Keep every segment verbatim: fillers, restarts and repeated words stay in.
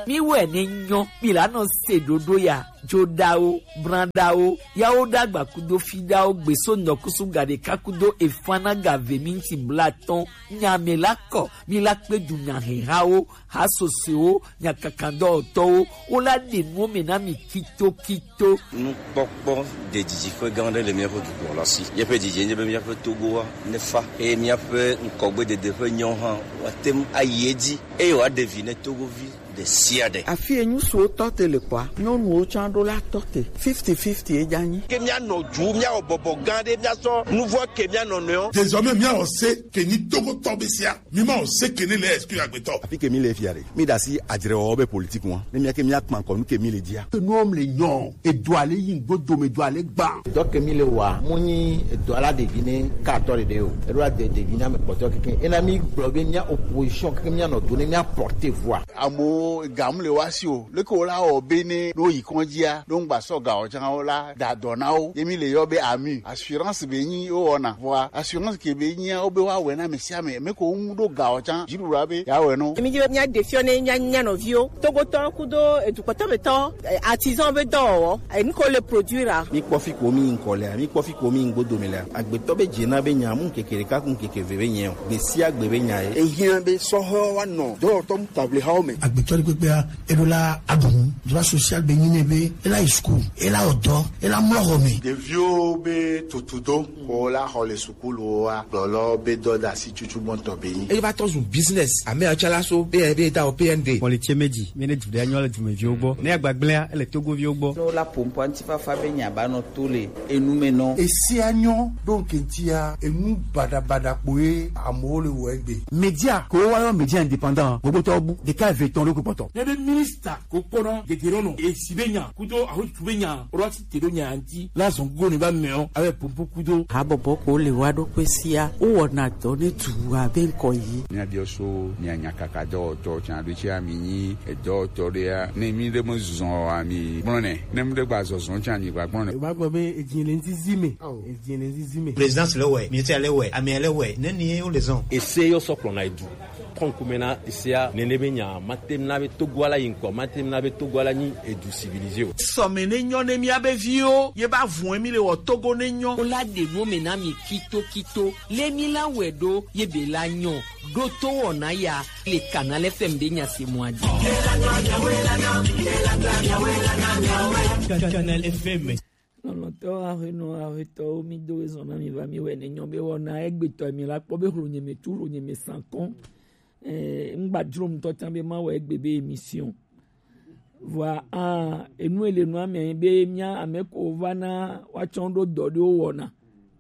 Mi wɛ ne nyɔ, mi la nɔ se ɖoɖo ya, joɖawo, branɖawo, yawo ɖagba kudo fiɖawo, gbeso nɔkusu gaɖeka kudo efana gave minti blatɔn, nya me la kɔ, mi la kpe du nya hehawo, ha sosoewo, nya kakandɔtɔwo, wo la ɖe nuwo me na mi kitokito. Nukpɔkpɔ ɖe didiƒe gã aɖe le míaƒe dukplɔla si. Míaƒe didi nye be míaƒe Togoa nefa eye míaƒe ŋkɔgbedede ƒe nyawo hã woate ŋu ayi edzi eye wòaɖe vi ne Togovi ɖe sia ɖe. Afi yi nyɔnuwo tɔ te le kpɔa, nyɔnuwo tsã ɖo la tɔ te. Fifty fifty ye dza nyi. Ke míanɔ dzu, míawɔ bɔbɔ gã ɖe, míasɔ nuvɔ ke mía nɔnɔewo. Désormais, míawɔ se ke nyi Togotɔ be sia. Mi ma o se ke ne le exclu agbetɔ. Afi ke mi le fia ɖe, mi ɖe asi adzrewɔwɔ be politique ŋua. Ne mía ke mía kpa ŋkɔ nu ke mi le dzia. Ke nuwo le nyɔ, edo ale yi ŋgbo dome do ale gba. Dɔ ke mi le wa, mo nyi edo ala ɖevi ne ka atɔ ɖeɖe o. Eɖo ade ɖevi na me kpɔtɔ keke. Ena mi gblɔ be mía opposition keke mía nɔ do ne mía porter voix. Amewo ga mu le wa si o. Leke wo la wɔ be ne ɖo yi kɔndzia, ɖo ŋgba sɔ ga o tsã wo la da dɔ na wo. Ye mi le yɔ be ami. Assurance be nyi wo wɔna. Vɔa assurance ke be nyia wo be wa wɛ na ame sia ame. Me ko ŋu ɖo ga o tsã. Dziɖuɖua be ya wɛ no. Mi dzi be mía ɖe fiɔ ne mía nya nɔviwo. Togotɔ kudo edukpɔtɔ be tɔ, eh, artisan be dɔwɔwɔ. Eh, nu ko le produire a. Mi kpɔ fi ko mi ŋkɔ lea, mi kpɔ fi ko mi ŋgbo dome lea. Agbetɔ be dze na be nya mu keke ɖeka ku keke ve be nyɛ o. Gbe sia gbe be nya ye. Ehiã be sɔhɛwo wa nɔ dɔwɔtɔ mu table hawo me. Agbetɔ ɖe kpekpea, eɖo la aɖu nu. Droit social be nyi nɛ be ela yi school, ela wɔ dɔ, ela mlɔ xɔ me. Ɖeviwo be tutudo ko la xɔ le sukuluwoa, gblɔlɔ be dɔdasi tutu gbɔntɔ be nyi. Eva tɔ zu business. Ame atsɔ la so be be da o P N D. Kpɔlitse meji, mi ne du ɖe anyɔ le dumeviwo gbɔ. Ne agbagblẽa, ele Togoviwo gbɔ. No la pompo antifafa be nya ba nɔ to le enu me nɔ. Esia nyɔ ɖo ŋkɛntia enu baɖabaɖa kpoe amewo le wɔ egbe. Media ko wa yɔ media indépendant, gbogbo tɔ bu ɖeka eve tɔn ɖo kpɔtɔ. Ne be minista ko kpɔna gegere nɔ esi be nya kudo ahotu be nya rɔti te ɖo nya anti la zɔn go ne ba mɛ o abe pompo kudo. Habɔbɔ ko le wa ɖo kpe sia wo wɔna dɔ ne tu abe ŋkɔ yi. Mía biɔ so mía nya kaka dɔwɔtɔ tsan ɖo tsi ami nyi edɔwɔtɔ ɖea ne mi ɖe me zɔn ami gblɔ nɛ ne mi ɖe gba zɔzɔn tsan mi gba gblɔ nɛ. Ba gbɔ be edzi le ŋzizi me. Edzi le ŋzizi me. Présidence le wɛ, ministère le wɛ, amia le wɛ, ne ni ye wo le zɔn. Ese yo sɔ kplɔna edu. Kɔnkume na esea nene be nya mate na be Togo ala yi ŋkɔ, mate na be Togo ala nyi edu civilisé o. Sɔme ne nyɔ ne mía be viwo, ye ba vun emi le wɔ Togo ne nyɔ. Wo la ɖe nu me na mi kito kito. Le mi la wɛ ɖo ye be la nyɔ. Ɖo to wɔna ya le Canal F M be nya se mɔ adi. Canal F M. Lɔlɔ̃tɔwo, aƒenɔ, aƒetɔwo, mi do ezɔ na mi va mi wɛ ne nyɔ be wɔna egbetɔ mi la kpɔ be hlo nye me tu hlo nye me sankɔn. Eh, ŋgba dzro ŋutɔ tsã be ma wɔ egbe be émission. Vɔa, ah, enu ele nua me be mía ame ko va na woatsɔ ɖo dɔ ɖewo wɔna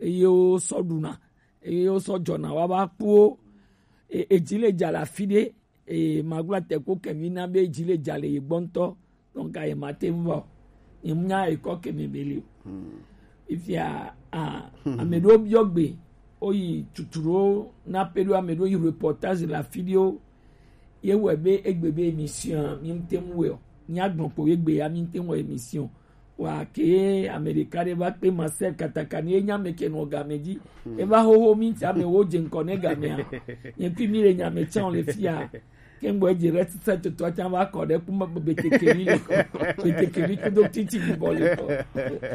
eye wo sɔ ɖuna eye wo sɔ dzɔna wa va kpuwo. E, edzi le dza le afi ɖe. Eye magblɔ te ko kemi na be dzi le dza le ye gbɔ ŋutɔ. Donc aye ma te vɔ. Ye nya ekɔ kemi be le o. Ifia a ame ɖewo biɔ gbe, woyi tuturo na pe ɖo ame ɖewo yi reportage le afi ɖewo. Ye wɔe be egbe be émission mi ŋute ŋu wɛ o. Mía gblɔ kpo ye gbe ya mi ŋute ŋu wɔ émission. Wa ke ame ɖeka ɖe va kpe Marcel Katakani ye nya me ke nɔ game dzi. Eva xoxo mi ŋuti ame wo dze ŋkɔ ne gamea. Nye kui mi le nya me tsã le fia. Ke ŋgbɔ edzi ɖe sisa toto atsã va kɔ ɖe kuma betekeli le kɔ. Betekeli kudo titi bibɔ le kɔ.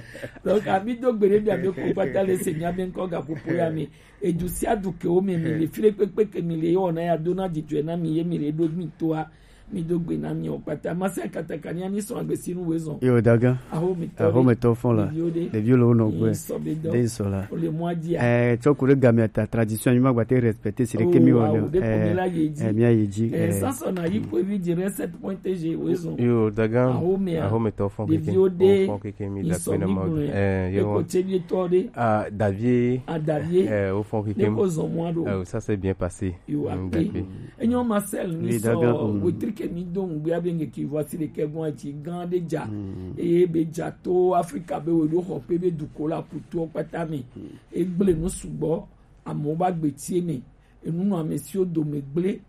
Donc, ami do gbe ɖe mi ame ko kpata le se mi ame ŋkɔ gaƒoƒo ya me. Edu sia du ke wo me mi le fi ɖe kpekpe ke mi le ye wɔna ya do na dzidzɔe na mi ye mi le ɖo mi toa. Mi do gbe na mi o kpata. Mase akataka ni ani sɔn agbe sinu we zɔn. Yo daga. Aho mi tɔ. Aho mi tɔ fɔn la. Ɖeviwo ɖe. Ɖeviwo le wo nɔgbe. Sɔ be dɔ. Ɖe sɔ la. O le mɔ adzia. Eh, tsɔ ku ɖe gamea ta tradition mi ma gba te respecter si ɖe ke mi wɔ ne. Eh, mi ayi dzi. Eh, sasɔ na yi ko evi dzi ɖe sept point T G we zɔn. Yo daga. Aho mi a. Aho mi tɔ fɔn keke. Ɖeviwo ɖe. Fɔn keke mi da pe na ma. Eh, yo. Eko tse bi tɔ ɖe. Ah, Davie. Ah, Davie. Eh, o fɔn keke. Ne ko zɔn mɔ ɖo. Eh, ça s'est bien passé. Yo akpe. Enyo Marcel ni sɔ wetri ke mi do ŋgbea be ŋke ki vɔ si ɖeke gbɔn etsi gã ɖe dza. Eye be dza to Afrika be we ɖo xɔ kpe be duko la kutuɔ kpata me. Egble nu sugbɔ, amewo ba gbe tie me. Enu nɔ ame siwo dome gble.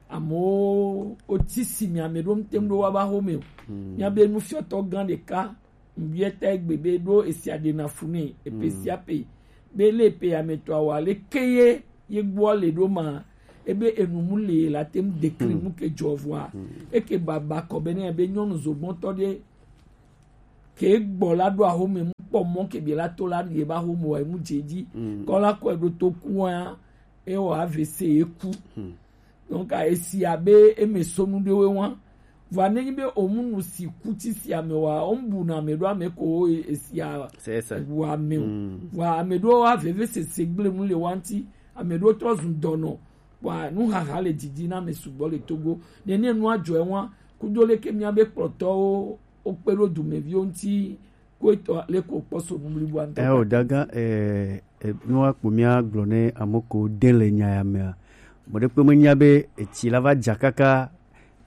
Amewo woti si mi ame ɖo ŋtem ɖo wa ba xo me o. Mia be nufiɔtɔ gã ɖeka ŋbiɛ ta egbe be ɖo esia ɖe na fu ne epe sia pe be le pe ametɔ awa le ke ye ye gbɔ le ɖo ma. ebe enu mu le la te ŋu dekli mu ke dzɔ vɔa. Eke baba kɔ be ne be nyɔnu zogbɔntɔ ɖe ke gbɔ la ɖo ahome mu kpɔ mɔ ke bi la to la ɖi eba home wa emu dze dzi. Kɔ la kɔ eɖo to ku wa, e wɔ A V C e ku. Donc a esi abe eme sonu ɖewe wa. Vɔa ne nyi be omu nu si ku ti si ame wa, o mu bu na ame ɖo ame ko e- esia C'est ça. Wu ame o. Vɔa ame ɖo wa veve sese gble mu le wa ŋti, ame ɖo trɔ zu dɔnɔ. Vɔa nuhaha le didi na ame sugbɔ le Togo. Ne ne nua dzɔe wa, kudo leke mia be kplɔtɔwo wokpe ɖo dumeviwo ŋti, ko etɔ leke wokpɔ so nu blibo ŋtɔ. Eh, o daga, eh, eh, nua kpo mia gblɔ ne ame ko de le nya ya mea. Mo ɖe kpe menya be etsi la va dza kaka,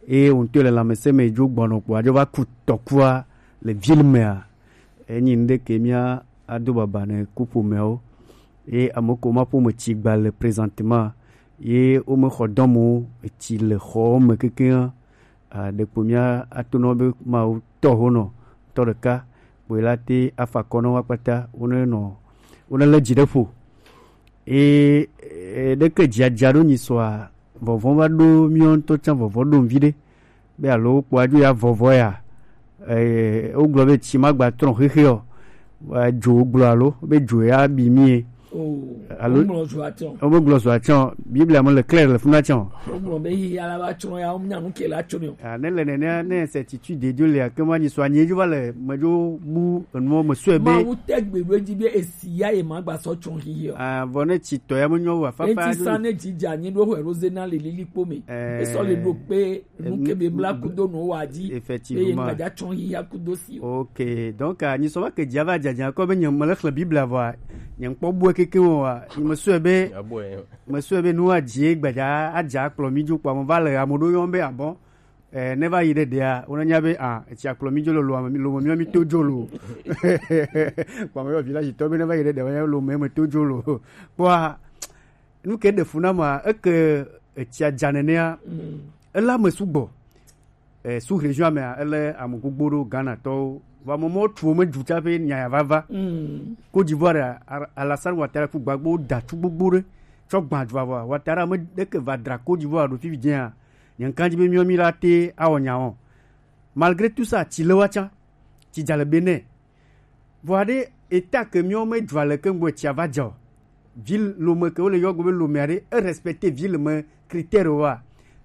eye wonto le lãmesẽ me dzo gbɔnɔ kpo adzo va ku tɔkua le ville mea. Enyi nu ɖe ke mia ado baba ne kuƒomeawo. Ye ame ko ma ƒome tsi gba le présentement. Ye wome xɔ dɔmɔ etsi le xɔwo me kekeŋ. Ah, ɖekpo mía ato nɔ be Mawu tɔ ho nɔ tɔ ɖeka, kpoe la te afa kɔ nɔ wa kpata, wo ne nɔ, wo ne lé dzi ɖe ƒo. E, e, ɖeke dzia dza ɖo nyi sɔa, vɔvɔ va ɖo míɔ ŋutɔ tsã vɔvɔ ɖo ŋvi ɖe. Be alo kpɔ adzo ya vɔvɔ ya. Eh, wogblɔ be tsi ma gba trɔ xexe o. Wa dzo gblɔ alo be dzo ya bi mie. Oh, alo womlɔ zua tsɔ. Womegblɔ zua tsɔ. Biblia me le clair le funa tsɔ. Womlɔ be yi ya la va tsɔ ya, womnya nu ke la tsɔ ne o. Ah, ne le nenea, ne certitude de Dieu le, ke ma nyi so anyi dzo va le, me dzo bu enuwo me sɔe be. Mawu te gbe ɖo edzi be esi ya ye ma gba sɔ tsɔ hihi o. Ah, vɔ ne tsi tɔ ya me nyɔ wa fafa. Enti sa ne dzi dza nyi ɖo hwe roze na le lili kpo me. Eh, esɔ le ɖo kpe nu ke be bla kudo no wa dzi. Effectivement. Eye ma dza tsɔ hihi ya kudo si o. Ok, donc, ah, nyi sɔ va ke dzi va dza dza kɔ be nye me le xlẽ Biblia vɔa, nye ŋkpɔ bue keke o wa, nye me sɔe be, me sɔe be nu wa dzi gbadza adza kplɔ mi dzo kpɔ me va le ame ɖo yɔm be abɔ. Eh, ne va yi ɖe ɖea, wona nya be, ah, etsi akplɔ mi dzo lolo, ame mi- lome mi mi to dzo lo. Kpɔ me yɔ village tɔ be ne va yi ɖe ɖea, wona lome me to dzo lo. Kpɔa, nu ke ɖe fu na ma, eke etsia dza nenea, ele ame sugbɔ. Eh, sous région mea, ele ame gbogbo ɖo Ghana tɔwo. Vɔ ame mɔ tu wo me dzu tsa ƒe nya ya vava. Côte d'Ivoire, Ar- Alassane Ouattara ku gbagbo da tu gbogbo ɖe. Tsɔ gbã dzu avɔ. Ouattara me ɖeke va dra Côte d'Ivoire ɖo fifi dzea. Nye ŋkan dzi be miɔ mi la te awɔ nya wɔn. Malgré tout ça, tsi le wa tsã. Tsi dza le Benin. Vɔa ɖe eta ke miɔ me dzua le ke ŋgɔ tsia va dza o. Ville lome ke wole yɔ go be lomea ɖe, e respecter ville me critère wa.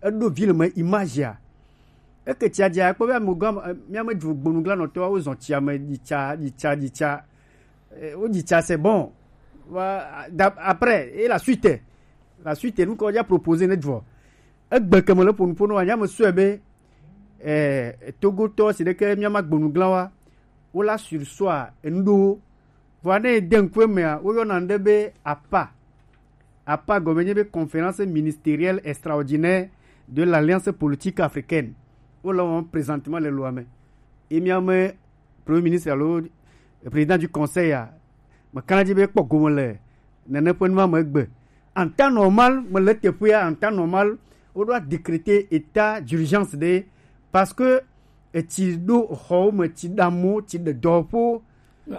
Eɖo ville me image ya. Eke tsia dza kpɔ be ame gã, eh, mía me dzu gbonuglanɔtɔwo zɔn tsia me dzi tsa, dzi tsa, dzi tsa. Eh, wo dzi tsa, c'est bon. Wa- da- après, et la suite, la suite, nu ke woja proposer ne dzɔ. Egbe ke me le ƒo nu ƒo no wa, nya me sɔe be, eh, Togotɔ si ɖeke mía ma gbonuglan wa, wo la sur soi enu ɖo. Vɔa ne de ŋkue mea, woyɔna ŋɖe be apa. Apa gɔme nye be Conférence ministérielle extraordinaire de l'Alliance politique africaine. Wole wɔm présentement le loa me. Ye mía me Premier ministre alo Président du Conseil a, mekana dzi be kpɔ gome le nene ƒe nua me egbe. En temps normal, mele teƒea, en temps normal, woɖo décréter état d'urgence ɖe, parce que etsi ɖo xɔwo me, tsi ɖe amewo, tsi ɖe dɔwɔƒewo.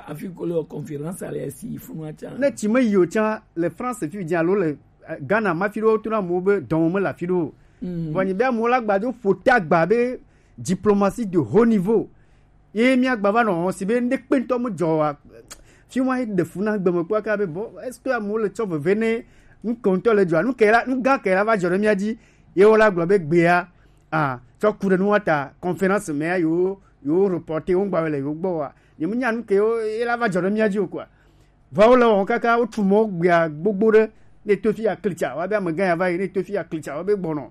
Afi ko le conférence ale si yi funua tsã. Ne tsi me yi o tsã, le France fi dzi alo le, eh, Ghana ma fi ɖewo tona amewo be dɔme mele afi ɖewo. Vɔ nyi be amewo la gba do ƒo ta gba be diplomatie de haut niveau. Ye mía gba va nɔ xɔ si be ŋɖe kpe ŋutɔ me dzɔ wa. Fi wa ɖe fu na gbeme kpɔ aka be, bon, est-ce que amewo le tsɔ veve ne nu ke ŋutɔ le dzɔa? Nu ke la, nu gã ke la va dzɔ ɖe mía dzi. Ye wo la gblɔ be gbea, ah, tsɔ ku ɖe nu wa ta, conférence mea yewo, yewo reporter wo ŋgba le yewo gbɔ wa. Nye menya nu ke wo, ye la va dzɔ ɖe mía dzi o kɔa. Vɔ wo le wɔm kaka, wotu mɔ gbea gbogbo ɖe, ne to fi ya klitsa, wa be amegã ya va yi, ne to fi ya klitsa, wa be gbɔnɔ.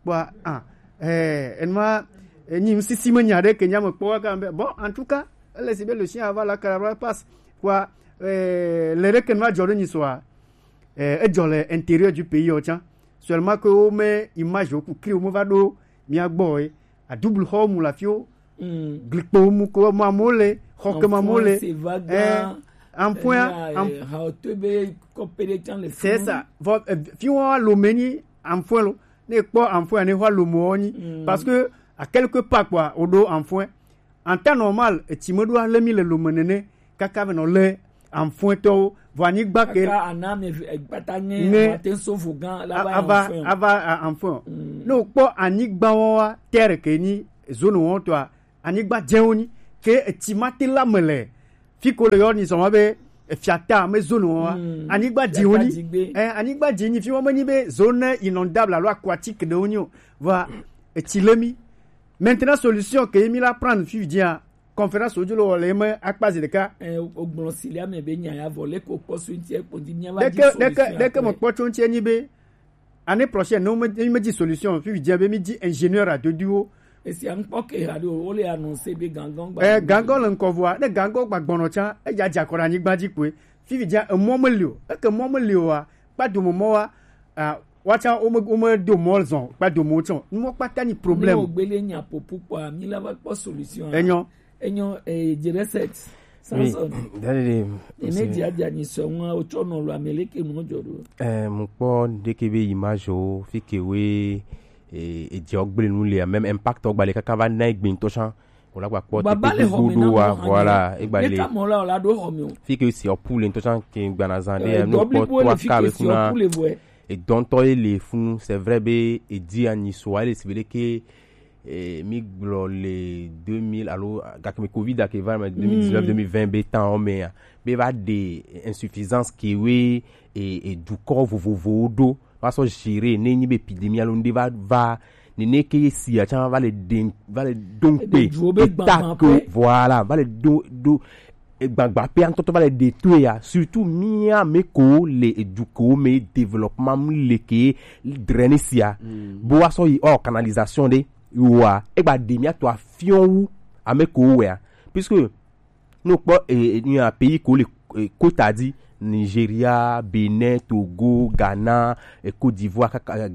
Kpɔa, ah, eh, enuma, eh, nyi ŋsisi me nya ɖe ke nya me kpɔ kaka be, bon, en tout cas, ele si be le chien ava la caravane passe. Kpɔa, eh, le ɖe ke nu va dzɔ ɖe nyi sɔa, eh, edzɔ le intérieur du pays o tsã. Seulement que wo me image wo ku cri wo me va ɖo mía gbɔ ye. A double xɔ mu la fi wo. Glikpo mu ko ma mo le, xɔ ke ma mo le. Enfant, c'est vague, eh, hein. Enfant, eh, enf- eh, ha, to be kɔ pe ɖe tsã le fi. C'est ça. Vɔ, eh, fi wa lo me nyi enfant lo. Ne kpɔ enfant ne wa lo mo nyi. Parce que à quelque part quoi, o do enfant. En temps normal, etsi me ɖo ale mi le lo me nene, kaka ve nɔ le anfuɛtɔwo, vɔ anyigba ke kaka ana mi gbata ŋɛ ŋɛ mate so vo gan la a- ba ava anfuɛ o. Ava a- anfuɛ o. Ne wokpɔ anyigba wɔn wa terre ke nyi zone wɔn tɔa, anyigba dzewo nyi ke etsi ma te la me le fi ko le yɔ ni zɔn be efia ta me zone wɔn wa. Anyigba dziwo nyi. Eh, anyigba dzi nyi fi wɔn me nyi be zone inondable alo aquatique ɖewo nyi o. Vɔ etsi le mi. Maintenant solution ke mi la prendre fi dzia conférence wodzo le wɔ le eme akpa zi ɖeka. Eh, ogblɔ si le ame be nya ya vɔ le ko kpɔ so ŋti ekpɔ di mia va di solution ɖeke ɖeke me kpɔ tso ŋti enyi be année prochaine ne mi me di solution fi dzia be mi di ingénieur adoduwo. Esi an kpɔ ke ha do wo le annoncer be gangan gba eh gangan le nkɔ vɔa ne gangan gba gbɔnɔ tsa eya dza kɔ ɖe anyigba dzi kpoe fi dzia emɔ me li o eke mɔ me li o wa kpa do mɔ wa. Ah, wacha wome wome do mɔ zɔn kpa do mɔ tsɔ numɔ kpata ni problème. Ni ogbele nya popo kpɔa mi la va kpɔ solution. Enyo. Enyo eh, jereset. Oui. Samson. Daddy. Ene dia dia ni sɔ ŋua o tsɔ nɔ lo ameleke nu dzɔ do. Eh, mu kpɔ deke be image o fi ke we eh, e dzɔ gble nu le même impact o gbale kaka va na egbe ŋutɔ tsã. Wòle agba kpɔ baba le xɔme na gbogbo wa, voilà, egba le. Neta mɔ la wòle aɖo xɔme o. Fi ke si ɔpu le ŋutɔ tsã ke gbana zã ɖe, eh, no kpɔ to aka be funa. Edɔntɔ ye le funu, c'est vrai be edi anyi so ale si be ɖeke eh, mi gblɔ le deux mille alo gake mi covid ake va me deux mille dix-neuf deux mille vingt be tan o me ya be va de insuffisance ke we e, e dukɔ vovovowo ɖo va sɔ gérer ne nyi be épidémie alo ŋɖe va va nene ke ye sia tsã va le de va le do ŋkpe eta ke voilà va le do do egbagba pe antɔtɔ va le de to ya surtout mia me ko le edu ko me développement mu le ke drainer sia bo wa sɔ yi ɔ canalisation ɖe wa egba de mia to afiɔn wu ame ko wea puisque no kpɔ e e nu ya pays ko le e, kota di Nigeria, Benin, Togo, Ghana, e, Côte d'Ivoire kaka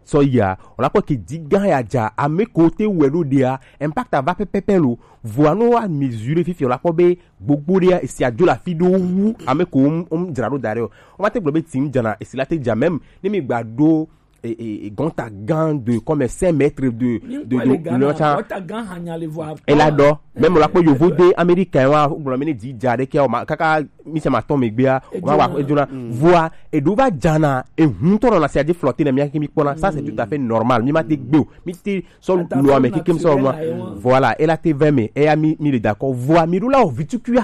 sɔ yia o la kpɔ ke di gã ya dza ame ko te wɛ ɖo ɖia impact ava pɛpɛpɛ lo vɔa no wa mesure fifi o la kpɔ be gbogbo ɖia esi adzo le afi ɖo wu ame ko wo dzra ɖo da ɖe o o ma te gblɔ be ti ŋu dzana esi la te dza même ne mi gba ɖo e e e gɔnta gã de comme cinq mètres de de de le ta gɔnta gã hanya le vɔ e la dɔ même la kpɔ yovo de américain wa gblɔ mi ne di dza ɖe ke o ma kaka mi se ma tɔn mi gbea o ma wa e dona voa e do va dzana e hun tɔn na se adi flotter na mi ake mi kpɔna ça c'est tout à fait normal mi ma te gbe o mi te sɔ lo ame keke mi sɔ ma voilà e la te vingt mai e ya mi mi le d'accord voa mi do la o vitu kuya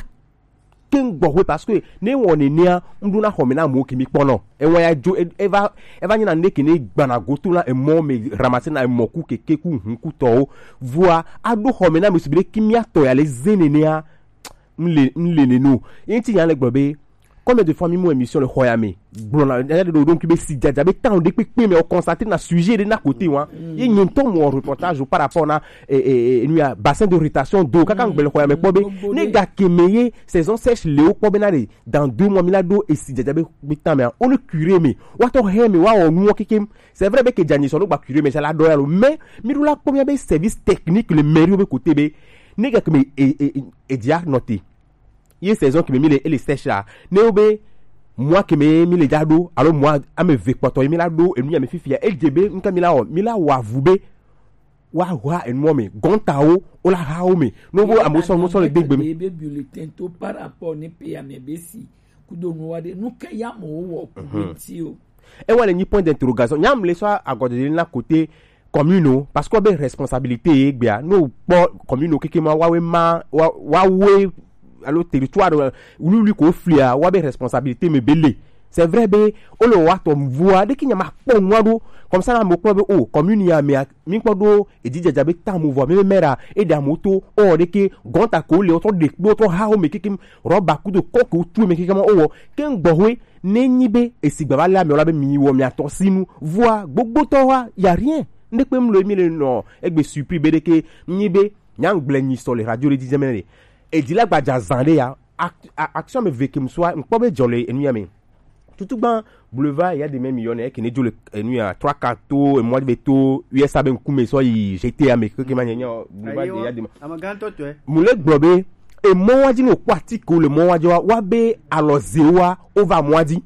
ke ŋgbɔ hwe parce que ne wɔ nenea ŋɖo na xɔme na amewo ke mi kpɔnɔ ewa ya dzo e- eva eva nyina ne ke ne gbana goto na emɔ me ramase na emɔ ku keke ku hun ku tɔwo vua aɖo xɔme na me subi ɖe ki mia tɔ ya le ze nenea mle mle ne no ye ŋti nya le gblɔ be combien de fois mi mu émission le xɔ ya me gblɔna ya ɖe ɖo ɖo ŋkui be si dzadza be temps ɖe kpekpe me o consacrer na sujet ɖe na côté wa ye nye ŋutɔ mu reportage par rapport na e e e nu ya bassin de rétention d'eau kaka ŋgbele xɔ ya me kpɔ be ne ga ke me ye saison sèche le wo kpɔ be na ɖe dans deux mois mi la ɖo esi dzadza be be temps me a wo le curé me wa tɔ hɛ me wa wɔ nuwɔ kekem c'est vrai be ke dzanyi sɔ no gba curé me sa la ɖɔ ya lo mais mi ɖo la kpɔ mi be service technique le mairie be côté be ne ga ke me e e e dia noté ye saison ke me mi le ele sèche la ne wo be mois ke me mi le dza ɖo alo mois ame ve kpɔtɔ ye mi la ɖo enu ya me fifia e dze be ŋka mi la wɔ mi la wɔ avu be wa wa enuɔ me gɔntawo wo la ha wo me no bo amewo sɔ no sɔ le degbe me be bulletin to par rapport ne pe ame be si kudo nu wa de nu ke ya mo wo ku ti o e wa le nyi point d'interrogation nya mle sɔ agɔdede na côté commune o parce que be responsabilité ye gbea no kpɔ commune o keke ma wa we ma wa wa we alo territoire de wuli wuli ko flia wa be responsabilité me bele c'est vrai be o le wa tɔ vua de ki nya ma kpɔ nua do comme ça na mo kpɔ be o commune ya me mi kpɔ do e di jaja be tamu vɔ me mera e da mo to o de ke gonta ko le o to de kpo to ha o me keke roba kudo ko ko tu me keke ma o wo ke ngbɔ hoe ne nyi be esi gbava le ame o la be mi wɔ mi atɔ sinu vua gbogbotɔ wa ya rien ne kpe mlo mi le nɔ egbe surpris be de ke nyi be nya ngble nyi sɔ le radio le dizeme ne e di la gbadza zan de ya action me ve ke msua nkpɔ be dzɔ le enu ya me tutugban boulevard ya de me mi yɔ ne ke ne dzo le enu ya trois quarts to e mo de to U S A be nkume sɔ yi jeté ya me ke ke ma nya boulevard de ya de me amagantɔ tɔe mu le gblɔ be e mɔ wa di no kpɔ ati ko le mɔ wa di wa wa be alɔ ze wa o va mɔ wa di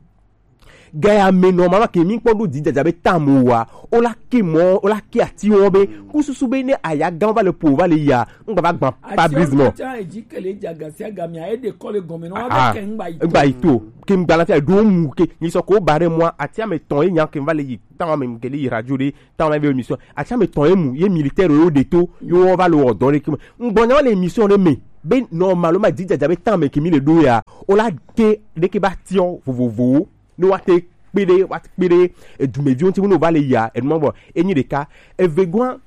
Gaya me nɔ mama ke mi kpɔ ɖo dzidzadza be tamu wa. O la ke mɔ, o la ke ati wɔn be kususu be ne aya gan va le po va le ya. N gba va gban pa brise mɔ. Ati wɔn tsã edzi ke le dza gasi agami a ede kɔ le gɔme nɔ wa be ke n gba yi to. N gba yi to. Ke n gba na fia ɖo mu ke ni sɔ ko ba ɖe mɔ ati ame tɔn ye nya ke n va le yi. Tamu ame ke le yi radio ɖe. Tamu ame be émission. Ati ame tɔn ye mu ye militaire yo de to yo wɔ va le wɔ dɔ ɖe ke me. N gbɔ nya le émission ɖe me be normalement dzidzadza be tamu ke mi le ɖo ya. O la ke ɖe ke ba tiɔ vovovowo. Ne woate kpe ɖe woate kpe ɖe edumeviwo ŋuti ne wova le yia enu ma gbɔ enyi ɖeka. Evegoa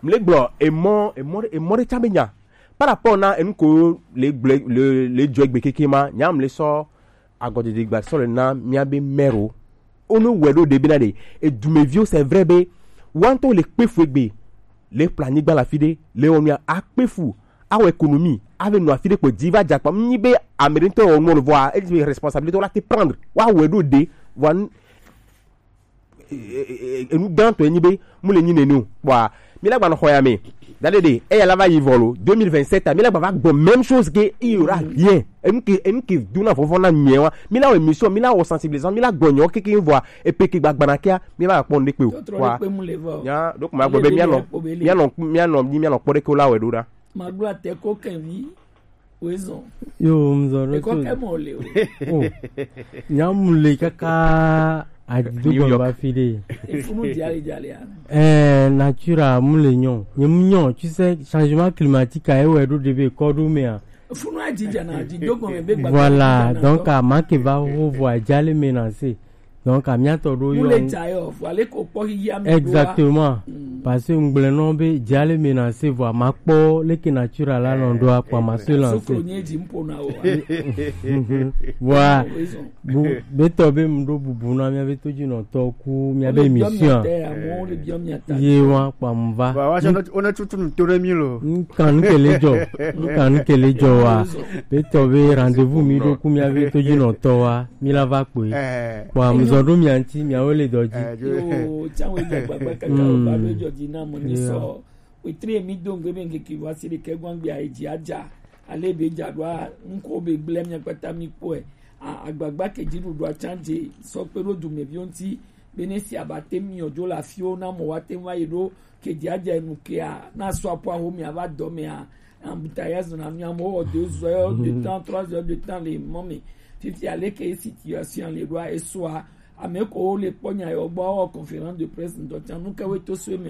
mle gblɔ emɔ emɔ emɔ ɖe tsa be nya par rapport na enu ko le gblɔ le le dzɔ egbe keke ma nya mle sɔ agɔdede gba sɔ le na mia be mɛro. Wonu wɛ ɖo ɖe bena ɖe edumeviwo c'est vrai be woantɔ le kpe fu egbe le kplɔ anyigba le afi ɖe le wɔ nua akpe fu awɔ économie ave nɔ afi ɖe kpo dzi va dza kpa nyi be ame ɖe ŋutɔ wɔ nɔ vɔa e be responsabilité la te prendre wa wɛ ɖo de vɔa nu enu gãtɔ enyi be mu le nyi nene o kpɔa mi la gba nɔ xɔ ya me da ɖe ɖe eya la va yi vɔ lo deux mille vingt-sept mi la gba va gbɔ même chose que il y aura rien enu ke enu ke duna vɔvɔ na nyɛ wa mi la wɔ émission mi la wɔ sensibilisation mi la gbɔ nyɔ keke vɔa epe ke gba gbana kia mi va kpɔ nu ɖe kpe o kpɔa nya ɖo kuma gbɔ be mianɔ mianɔ mianɔ mianɔ kpɔ ɖe ke wo la wɛ ɖo ɖa. Magblɔ ate ko kɛvi wezɔn. Yo mzɔ ɖo to. Ekɔ kɛ mɔ le o. Oh. Nyamu le kaka adido gbɔn ba fi de. Efunu jali jali a. Eh nature a mu le nyɔ. Nye mu nyɔ tu sais changement climatique a ewe ɖo de be kɔ ɖo me a. Efunu a jija na adido gbɔn me be gbagba. Voilà donc a ma ke va ho vo a jali me na se. Donc amia tɔ ɖo yɔ. Exactement. Parce que ngble nɔ be jale me na se vɔ ma kpɔ leke nature la nɔ ɖo akpa ma se lancer. Wa bu be tɔ be mu ɖo bubu na mia be to dzi nɔ tɔ ku mia be émission. Ye wa kpa mu va. Wa wa sɔ ona tutu nu to ɖe mi lo. Nkan kele jɔ. Nkan kele jɔ wa. Be tɔ be rendez-vous mi ɖo ku mia be to dzi nɔ tɔ wa. Mi la va kpoe. Kpɔ amuzɔ ɖo mia ŋuti miawo le dɔ dzi. Yo tsanwe dza gbagba kaka o va ɖo edzɔ dzi na mo ni sɔ wetri mi do ŋgbe be ŋkeke va si ɖe ke gbɔn gbia edzi adza ale be dza ɖoa ŋkɔ be gblẽ mia kpata mi kpɔe. Agbagba ke dzi ɖuɖua tsan dze sɔ kpe ɖo dumeviwo ŋuti be ne si abate mi yɔ dzo le afiwo na mo wa te va yi ɖo ke dzi adza enu kea na sɔ aƒua ho mia va dɔ mea. Embouteillage na mi amewo wɔ deux heures de temps trois heures de temps le mɔ me. Fifi aleke situation le ɖoa esoa ame ko wo le kpɔ nya yɔ gbɔ wɔ conférence de presse ŋdɔ tsa nu ke wo to so me.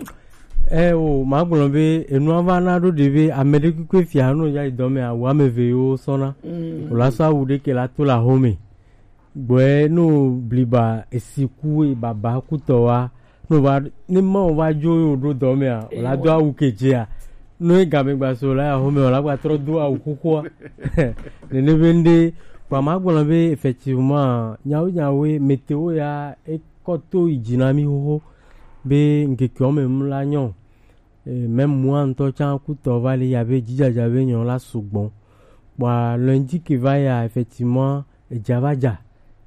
Ɛ o ma gblɔ be enua va na ɖo ɖe be ame ɖe kpekpe fia no ya dɔ me awu ame ve yo sɔna o la sɔ awu ɖe ke la to la home. Gbɔɛ no bliba esiku baba kutɔ wa no va ne ma o va dzo yo ɖo dɔ mea o la do awu kedzea no e game gba so la ya home o la gba trɔ do awu kukua. Nene be nde kpa ma gblɔ be effectivement nyawo nyawo météo ya e kɔ to yi dzi na mi xoxo be ŋkeke wo me mu la nyɔ. Même moi ŋutɔ tsã kutɔ va li ya be dzidzadza be nyɔ la sugbɔ. Kpɔa lundi ke va ya effectivement edza va dza.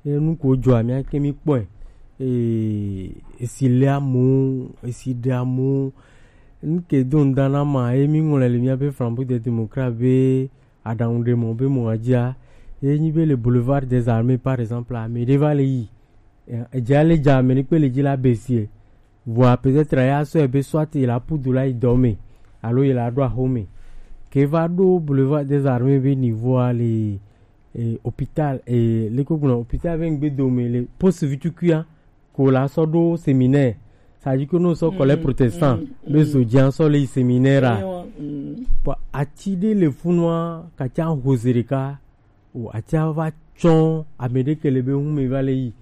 Enu ko dzɔa mía ke mi kpɔe. Esi le amewo esi ɖe amewo nu ke do ŋda na ma ye mi ŋlɔe le míaƒe Flambeau des Démocrates be aɖaŋu ɖe mɔ be mɔ adzia ye nyi be le boulevard des armées par exemple ame ɖe va le yi. Edze ale dza ame ɖe kpe le dzi la be sie. Vɔa peut-être ya sɔe be soit il a pudu la yi dɔ me alo il a ɖo axo me. Ke va ɖo boulevard des armées be niveau a le eh, hôpital eh, le ko gblɔ hôpital be ŋgbe dome le poste vitukuia ko la sɔ ɖo séminaire. Ça dit que nous sɔ kɔlɛ protestant be zo dzi sɔ le séminaire a. Bon ati ɖe le funua katsa hose ɖeka o ati va tsɔ ame ɖe ke le be ŋu me va le yi.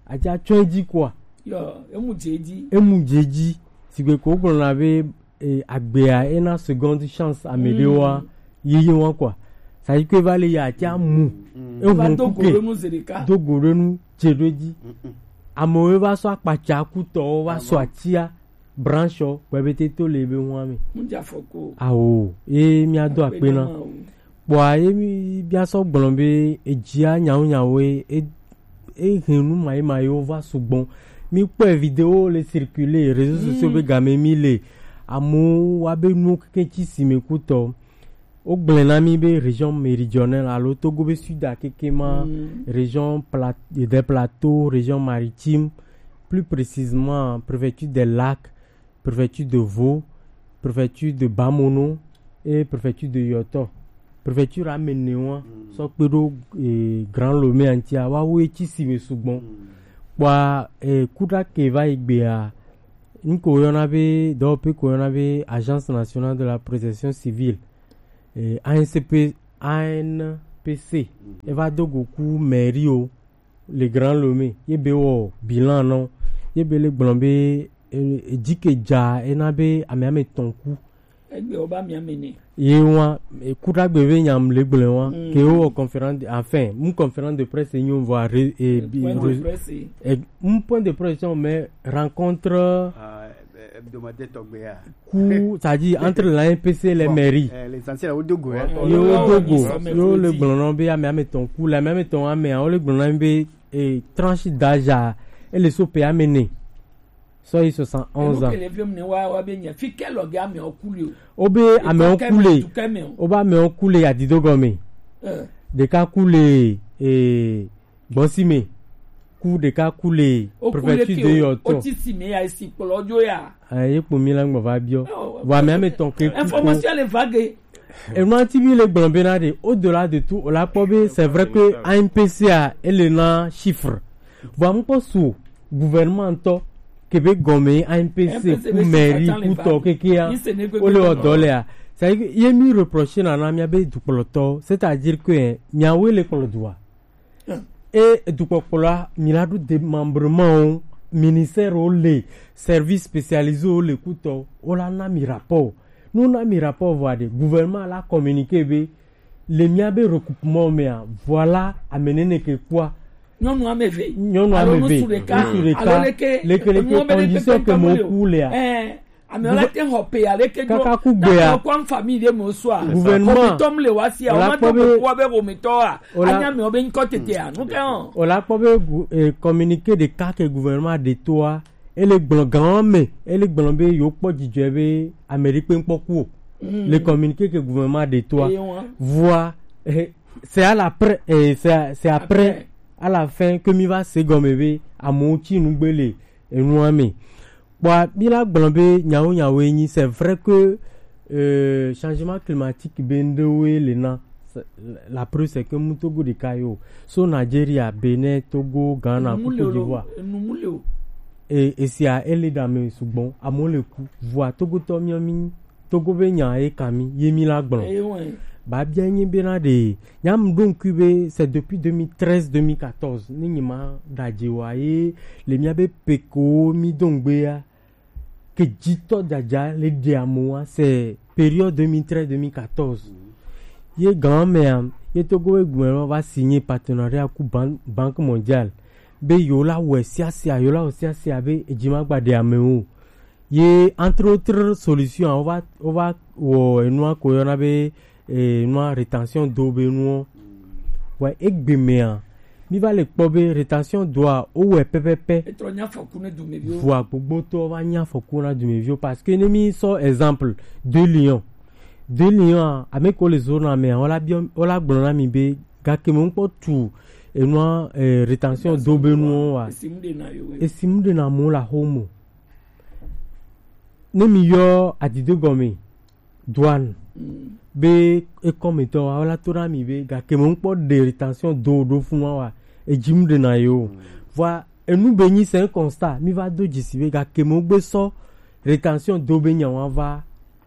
Ati tsɔ edzi kɔa. Yo emu dze edzi. Emu dze edzi. Sigbe ko gblɔ na be eh, agbea ena seconde chance ame ɖewoa yeye wa quoi. Ça dit que va le ya tia mu ehun kuke do go ɖe nu dze ɖo dzi. Amewo va sɔ akpatsa kutɔwo va sɔ atia branche gbɛbete to le be hua me. Awo ye mia do akpe na. Kpɔa ye mi bia sɔ gblɔ be edzia nyawo nyawo ye e e hɛn nu mayi mayiwo va sugbɔ. Mi kpɔe video le circuler réseaux sociaux be game mi le amewo wa be nuwo keke tsi si me kutɔ. Wogblẽ na mí be région méridionale alo Togo be sud a keke ma, mm, région Pla-, des Plateaux, région maritime, plus précisément préfecture des Lacs, préfecture de Vaud, préfecture de Bamono et préfecture de Yoto. Préfecture ame ene wa, mm, sɔ kpe ɖo, eh, Grand Lomé ŋutia, woawo ye ci si me sugbɔ. Mm. Kpɔa, eh, kuɖa ke va yi gbea, nu ko woyɔna be, dɔwɔƒe ko woyɔna be Agence Nationale de la Protection Civile, eh, A N C P, A N P C, mhm, eva do go ku mairie wo le Grand Lomé, ye be wɔ bilan nɔ, ye be le gblɔ be, eh, edzi ke dza ena be ame ame tɔn ku. Egbe wo ba mia me ne. Ye wa, eh, kuɖagbe be nyam le gblẽ wa, mm, ke wo wɔ conférence de, enfin, mu conférence de presse nyo vɔ re-, eh, eh, bi-, point de re-, presse. Eh, mu point de presse, mais rencontre, ah, eh, hebdomadaire tɔgbe ya. Ku, c'est-à-dire entre l'A N P C et les mairies. Bon, eh, l'essentiel, o dogo, hein. Yo, yo, dogo, yo, le gblɔnɔ be ame ame tɔn ku, le ame ame tɔn ame, o le gblɔnɔ be, eh, tranche d'âge a, ele so pe ame ne. Sɔ yi soixante et onze ans. Enu ke le vlem ne wa, wa be nya, fi ke lɔ ge ame o ku le o. O be ame o ku le. Etɔ ke me, tu ke me o. O be ame o ku le ya dido gɔme. Eh. Ɖeka ku le, eh, Gbɔsime, ku ɖeka ku le préfecture de Yɔtɔ. O ti si me ya esi kplɔ jo ya. Ayi kpo mi la ŋgbɔ va biɔ. Vɔ ame ame tɔn ke ku ko. Information le vague. Enua ti bi le gblɔ bena ɖe, au-delà de tout, o la kpɔ be c'est vrai que A N P C a ele na chiffre. Vɔ amu kpɔ su gouvernement ŋutɔ ke be gɔme A N P C ku mairie ku tɔ kekea, o le wɔ dɔ lea. C'est-à-dire ye mi reprocher na na mia be dukplɔtɔ, c'est-à-dire que, eh, miawoe le kplɔ dua. E dukpɔkplɔa, mi la ɖo démembrement o, ministère o le, service spécialisé o le kutɔ, o la na mi rapport. Nu na mi rapport vɔ aɖe, gouvernement la communiqué be, le mia be regroupement mea, voilà, ame nene ke kua. Nyɔnu ame eve. Nyɔnu ame eve. Alo ŋutsu ɖeka. Ŋutsu ɖeka. Alo leke, leke, leke condition ke mo ku lea. Ɛɛ. Amewo la te xɔ pe aleke do. Kaka ku gbea. Kɔ famille de mo so a. Gouvernement. Omitɔ mu le wa si a, o ma to ko wa be omitɔ a. Anya me o be nkɔ tete a. Nu ke hɔn. O la kpɔ be gu-, eh, communiqué ɖeka ke gouvernement ɖe to a, ele gblɔ gan me, ele gblɔ be yo kpɔ dzidzɔ be Amérique ŋkpɔ ku o. Mm. Le communiqué ke gouvernement ɖe to a. Eye wa. Voa, eh, c'est à la pré-, eh, c'est à, c'est après, après, à la fin que mi va se gɔme be amewo tsi nugbe le enua me. Kpɔa, mi la gblɔ be nyawo nyawoe nyi, c'est vrai que, euh, changement climatique be ŋɖewoe le na. C'est, la preuve, c'est que mu Togo ɖeka yo. So Nigeria, Bénin, Togo, Ghana, ku Côte d'Ivoire. Enu mu le o. E, esia, ele ɖe ame sugbɔ, amewo le ku. Vɔa, Togotɔ miɔ mi nyi. Togo be nya ye ka mi, ye mi la gblɔ. Eye wɛ. Ba bia nyi bena ɖe, nya mu ɖo ŋkui be, c'est depuis deux mille treize, deux mille quatorze, ne nyi ma ɖadze wa ye, le mia be peko mi do ŋgbe ya, ke dzitɔ dzadza le ɖe amewo wa, c'est période deux mille treize, deux mille quatorze. Ye gan mea, ye Togo be gblɔ va signé partenariat ku Ban-, Banque Mondiale. Be yo la wɔ siasia, yo la wɔ siasia be edzi ma gba ɖe amewo. Ye entre autres solutions, wova, wova wɔ enua ko yɔna be, eh, enua rétention d'eau be nuɔ. Wa egbe mea, mi va le kpɔ be rétention d'eau a, wowɔe pɛpɛpɛ. Etrɔ nya afɔku ne dumeviwo. Vɔa gbogbotɔ va nya afɔku na dumeviwo parce que ne mi sɔ exemple de Lyon. De Lyon a, ame ko le zona mea, wola biɔ, wola gblɔ na mi be, gake mo ŋkpɔ tu enua, eh, rétention d'eau be nuɔ wa. Esi mu ɖe na yo. Esi mu ɖe na mo la homo. Ne mi yɔ adide gɔme, douane, mm, be ekɔmetɔ wa, wola to na mi be, gake mo ŋkpɔ ɖe rétention d'eau ɖo funu wa, edzi mu ɖe na yo. Mm. Vɔa, enu be nyi c'est un constat, mi va do dzisi be, gake mo gbe sɔ rétention d'eau be nya wa va,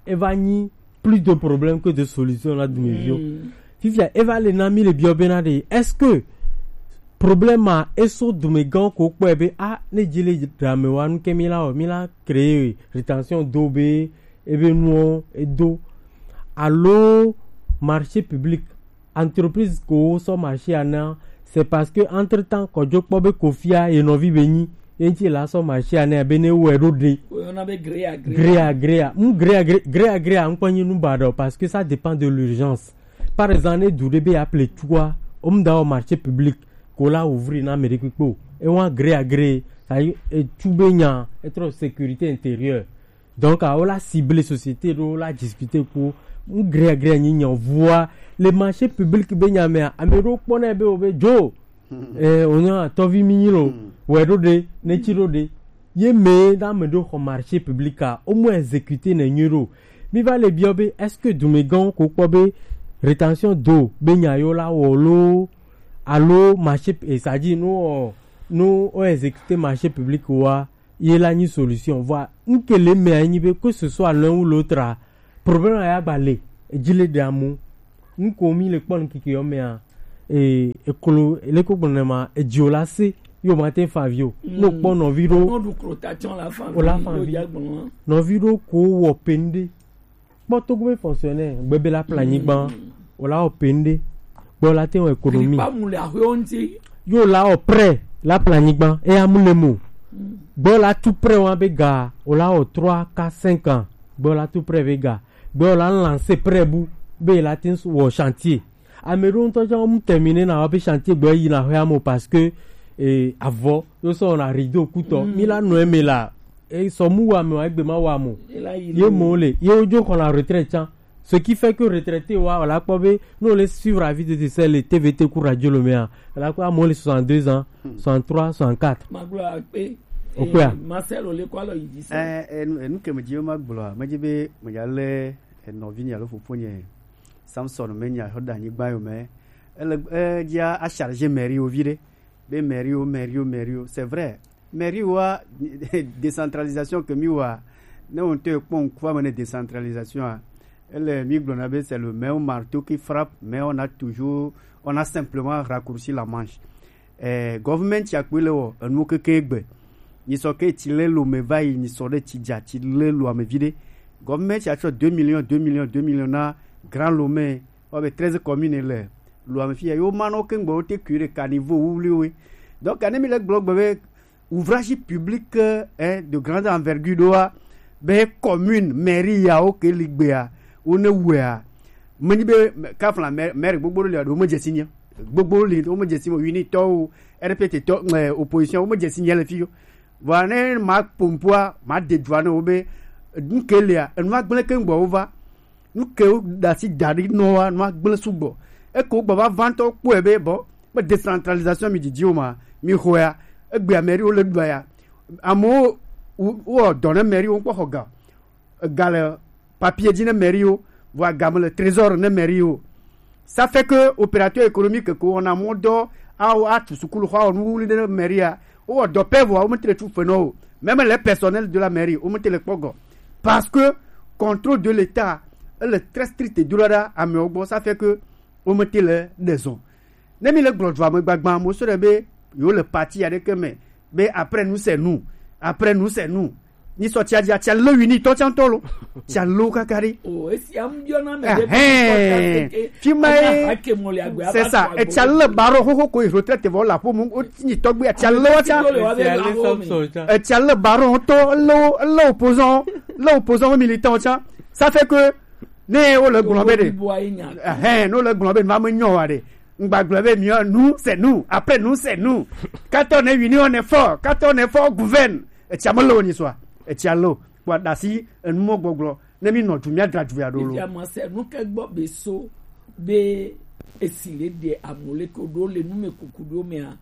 eva nyi plus de problème que de solution na dumeviwo. Mm. Fifia, eva le na mi le biɔ bena ɖe, est-ce que problème a eso dumegãwo ko kpɔe be, a, ne dzi le ɖe ame wa nu ke mi la wɔ, mi la créer rétention d'eau be ebe nuwo edo. Alo marché public, entreprise ko sɔ marché a na, c'est parce que entre-temps, kɔdzo kpɔ be kofia ye nɔvi be nyi, ye ŋti la sɔ marché a na be ne wɛ ɖo ɖe. Woyɔna be gré à gré. Gré à gré a. Mu gré à gré, gré à gré a ŋkpɔ nyi nu ba ɖe o, parce que ça dépend de l'urgence. Par exemple, ne du ɖe be ya ple tsua, o mu da wɔ marché public, ko la ouvrir na ame ɖe kpekpe o. E wa gré à gré, ça y est, etsu be nya, etrɔ sécurité intérieure. Donc, ah, wola cible société ɖo, wola discuter kpo. Ŋgreagrea nyi nya vua le marché public be nya mea, ame ɖewo kpɔna be wo be dzo. Eh, wònye atɔvi mi nyi lo, wòe ɖo ɖe, ne tsi ɖo ɖe. Ye me ɖe ame ɖewo xɔ marché public a, womu exécuter ne nyui ɖo. Mi va le biɔ be, est-ce que dumegãwo ko kpɔ be rétention d'eau be nya yewo la wɔ lo, alo marché, eh, c'est-à-dire, no, no, o exécuter marché public wa, ye la nyi solution. Vɔa, ŋke le mea nyi be, que ce soit l'un ou l'autre a, problème ya gba le, edzi le ɖe amu. Ŋko mi le kpɔ ŋkeke yɔ mea, e, eklo, leko gblɔ ne ma, edzi o la se, yo ma te fa vi o. No kpɔ nɔvi ɖo, no du klo ta tsɔ la fa o la fa vi. Nɔvi ɖo ko wɔ pende. Kpɔ Togo be fonctionnaire, gbebe la plan nyigban, o la wɔ pende. Gbɔ la te wɔ économie. Kpa mu le aƒewo ŋuti. Yo la wɔ prêt la plan nyigban, e amu le mo. Gbɔ la tu prêt wa be ga, o la wɔ trois, quatre, cinq ans. Gbɔ la tu prêt be ga. Gbɔ la lancer prêt bu, be la te wɔ chantier. Ame ɖewo ŋutɔ tsã wo mu terminer na woƒe chantier gbɔ yi na xɔa me o parce que, eh, avɔ yo sɔ na rideau kutɔ. Mi la nɔ eme la, eh, sɔ mu wa me wa egbe ma wa mo. Ye mo le, ye wo dzo xɔ na retraite tsã. Ce qui fait que retraité wa, wòla kpɔ be, ne wòle suivre avis de décès le T V T ku radio lo mea, wòla kpɔ amewo le soixante-deux ans, soixante-trois, soixante-quatre. Magblɔ akpe. Okpea? Eh, Marcel, wòle kɔ alɔ yi dzi se. Eh, eh, nu, eh, nu ke me dzi be magblɔa, medzi be medza lé, eh, nɔvinye alo fofonye Samson me nya xɔ da anyigba yo me. Ele, eh, dzi a, a charger mairie wo vi ɖe. Be mairie wo, mairie wo, mairie wo. C'est vrai. Mairie wa, décentralisation ke mi wa, ne on te kpɔ ŋkua me ne décentralisation a, ele mi gblɔna be c'est le même marteau qui frappe, mais on a toujours, on a simplement raccourci la manche. Eh, government ya kpe le wɔ, enu keke gbe. Ni sɔ ke tsi le lo me va yi, ni sɔ ɖe tsi dza, tsi le lo ame vi ɖe. Government ya tsɔ deux millions, deux millions, deux millions na Grand Lomé, wɔ be treize communes le lo ame fi ya. Yo ma no ke ŋgbe wo te kui ɖe caniveau wuwliwo. Donc, ne mi le gblɔ gbe be ouvrage public, eh, de grande envergure ɖoa, be commune, mairie yawo ke li gbea, wo ne wɔa. Menyi be, kafla maire, maire gbogbo ɖe le aɖo, wo me dzesi nye. Gbogbo li, wo me dzesi mo, unitɔ o, R P T tɔ, eh, opposition, wo me dzesi nye le fi yo. Vɔa ne ma pompoa, ma de dua ne wo be, nu ke lia, enu agble ke ŋgbɔ wo va. Nu ke wo da si da ɖi nɔ wa, nu agble sugbɔ. Eko gbɔ va va ŋutɔ kpɔe be, bɔ, be décentralisation mi didi o ma, mi xɔa, egbe mairie wo le ɖua ya. Amewo, wo, wo dɔ ne mairie wo ŋkpɔ xɔ ga. Ega le papier dzi ne mairie wo, vɔa ga me le trésor ne mairie wo. Ça fait que opérateur économique ko wɔna mɔ dɔ, awo atu sukulu xɔ, awɔ nuwuli ɖe mairie a, wowɔ dɔ pɛ vɔa, womete le tu fe nɔ o. Même les personnels de la mairie, womete le kpɔ gɔ. Parce que contrôle de l'État, ele très strict do la ɖa amewo gbɔ, ça fait que womete le ɖe zɔn. Ne mi le gblɔ dua me gbagbã, mo sɔ ɖe be, yo le parti ya ɖe ke me, be après nous c'est nous, après nous c'est nous. Ni sɔ tia dia, tia le wi ni tɔ tia ŋutɔ lo. Tia lo kaka ɖi. O, esi am biɔ na me ɖe. Ɛhɛn. Fi ma ye. C'est ça. Etia le baro xoxo ko retraite vɔ la po mu, o ti ni tɔgbe, etia le wa tia. Etia le baro tɔ, le, le opposant, le opposant militant tia. Ça fait que, ne wo le gblɔ be ɖe. Ɛhɛn, ne wo le gblɔ be, va me nyɔ wa ɖe. Ŋgbagblɔ be, miɔ, nous c'est nous, après nous c'est nous. Quand on est uni, on est fort. Quand on est fort, on gouverne. Etia me lo ni sɔ. Etia lo. Kpɔ ɖasi, enu mɔ gbɔgblɔ. Ne mi nɔ du, mi adra du ya ɖo lo. Etia ma se nu ke gbɔ be so, be esi le de amole ko ɖo le nu me kuku ɖo mea.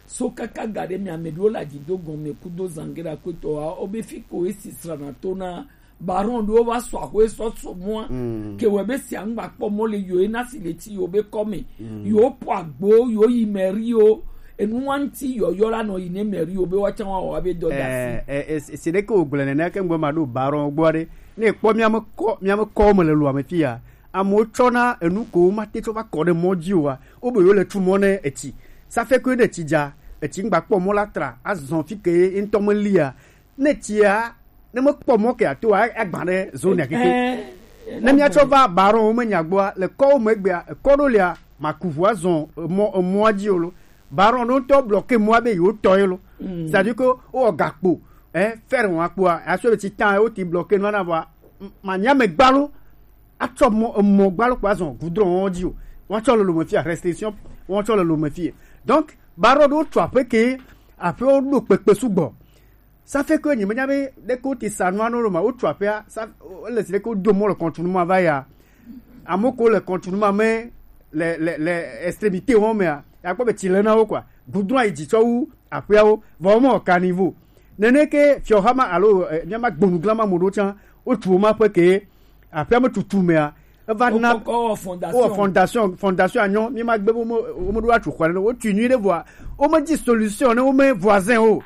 So kaka ga ɖe mea, ame ɖewo le adzido gɔme kudo zangera kpetɔa, wobe fi ko esi srana to na baron ɖewo va sɔ axwe sɔ so mɔa. Ke wɔ be sia ŋgba kpɔ mɔ le yo ena si le ti yo be kɔme. Yo po agbo, yo yi mairie yo. Enu wa ŋuti yɔyɔ la nɔ yi ne mairie yo be wa tsã wa wɔ be dɔ da si. Eh, eh, eh, si ɖe ke wo gblɔ nene ke ŋgbe ma ɖo baron gbɔ ɖe. Ne kpɔ mia me kɔ, mia me kɔ me le lo ame fi ya. Amewo tsɔna enu ko wo mate tsɔ va kɔ ɖe mɔ dzi oa, wo be yewo le tu mɔ ne etsi. Ça fait que ne etsi dza, etsi ŋgba kpɔ mɔ la tra, azɔ fi ke ye ŋutɔ me lia. Ne etsia, ne mekpɔ mɔ ke ato a, agba ɖe zone ya keke. Ne mia tsɔ va baron wo me nya gbɔa, le kɔ wo me gbea, ekɔ ɖo lia, maku ʋu azɔ emɔ, emɔa dzi o lo. Baron ɖo ŋutɔ bloqué mɔa be yewo tɔ ye lo. C'est-à-dire que wo gakpo, eh, fer wɔn akpoa, aso be tsi tan wo ti bloqué nua na vɔa, m-, manya me gbalo. Atsɔ mɔ, emɔ gbalo kpo azɔ goudron dzi o. Wɔn tsɔ le lome fia, restriction, wɔn tsɔ le lome fia. Donc, baron ɖo tsɔ aƒe ke, aƒewo ɖo kpekpe sugbɔ. Ça fait que nyemenya be ɖeke wote sa nua no ɖo ma, wotu aƒea, ça, ele si ɖeke wodo mɔ le continue ma va ya. Amewo ko le continue ma me, le, le, le extrémité wo mea, ya kpɔ be tsi le na wo quoi. Goudron ayi dzi tsɔ wu aƒeawo, vɔ wo mewɔ caniveau. Nene ke fiɔha ma alo, eh, míama gbonugla ma mo ɖo tsã, wotu wo ma ƒe ke, aƒea me tutu mea, eva na wokɔkɔ wɔ fondation. Wowɔ fondation, fondation anyɔ, míama gbe be wo me, wo me ɖo atu xɔ ne, wotu nyui ɖe vɔa, wo me di solution ne wo me voisin o.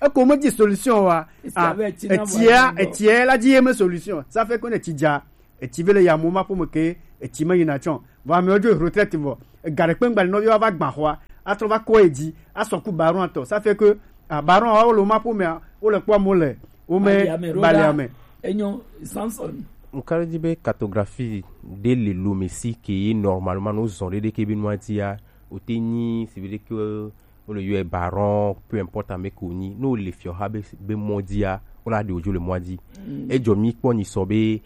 Eko wo me di solution wa. Est-ce que ah, avec Tina etsia, voisin, etsia la di ye me solution. Ça fait que ne tsi dza, etsi ve le ya mo ma ƒome ke, etsi me yina tsɔ. Vɔ amewo dzo retraite vɔ. Ega ɖe kpe ŋgba le nɔviwo va gbã xɔa, atrɔ va kɔ edzi, asɔ ku baron atɔ. Ça fait que, ah, baron awo le wo ma ƒomea, wo le kpɔ mo le, wo me bali ame. Enyo, Samson. Nka di be cartographie de le Lomé si ke ye normalement no zɔn ɖe ɖe ke be nua dia, o te nyi si be ɖe ke o le yɔ baron, peu importe ame ko nyi, no le fiɔha be, be mɔ dia, o la de ojo le mɔ di. Mm. Ejɔ mi kpɔ nyi sɔ be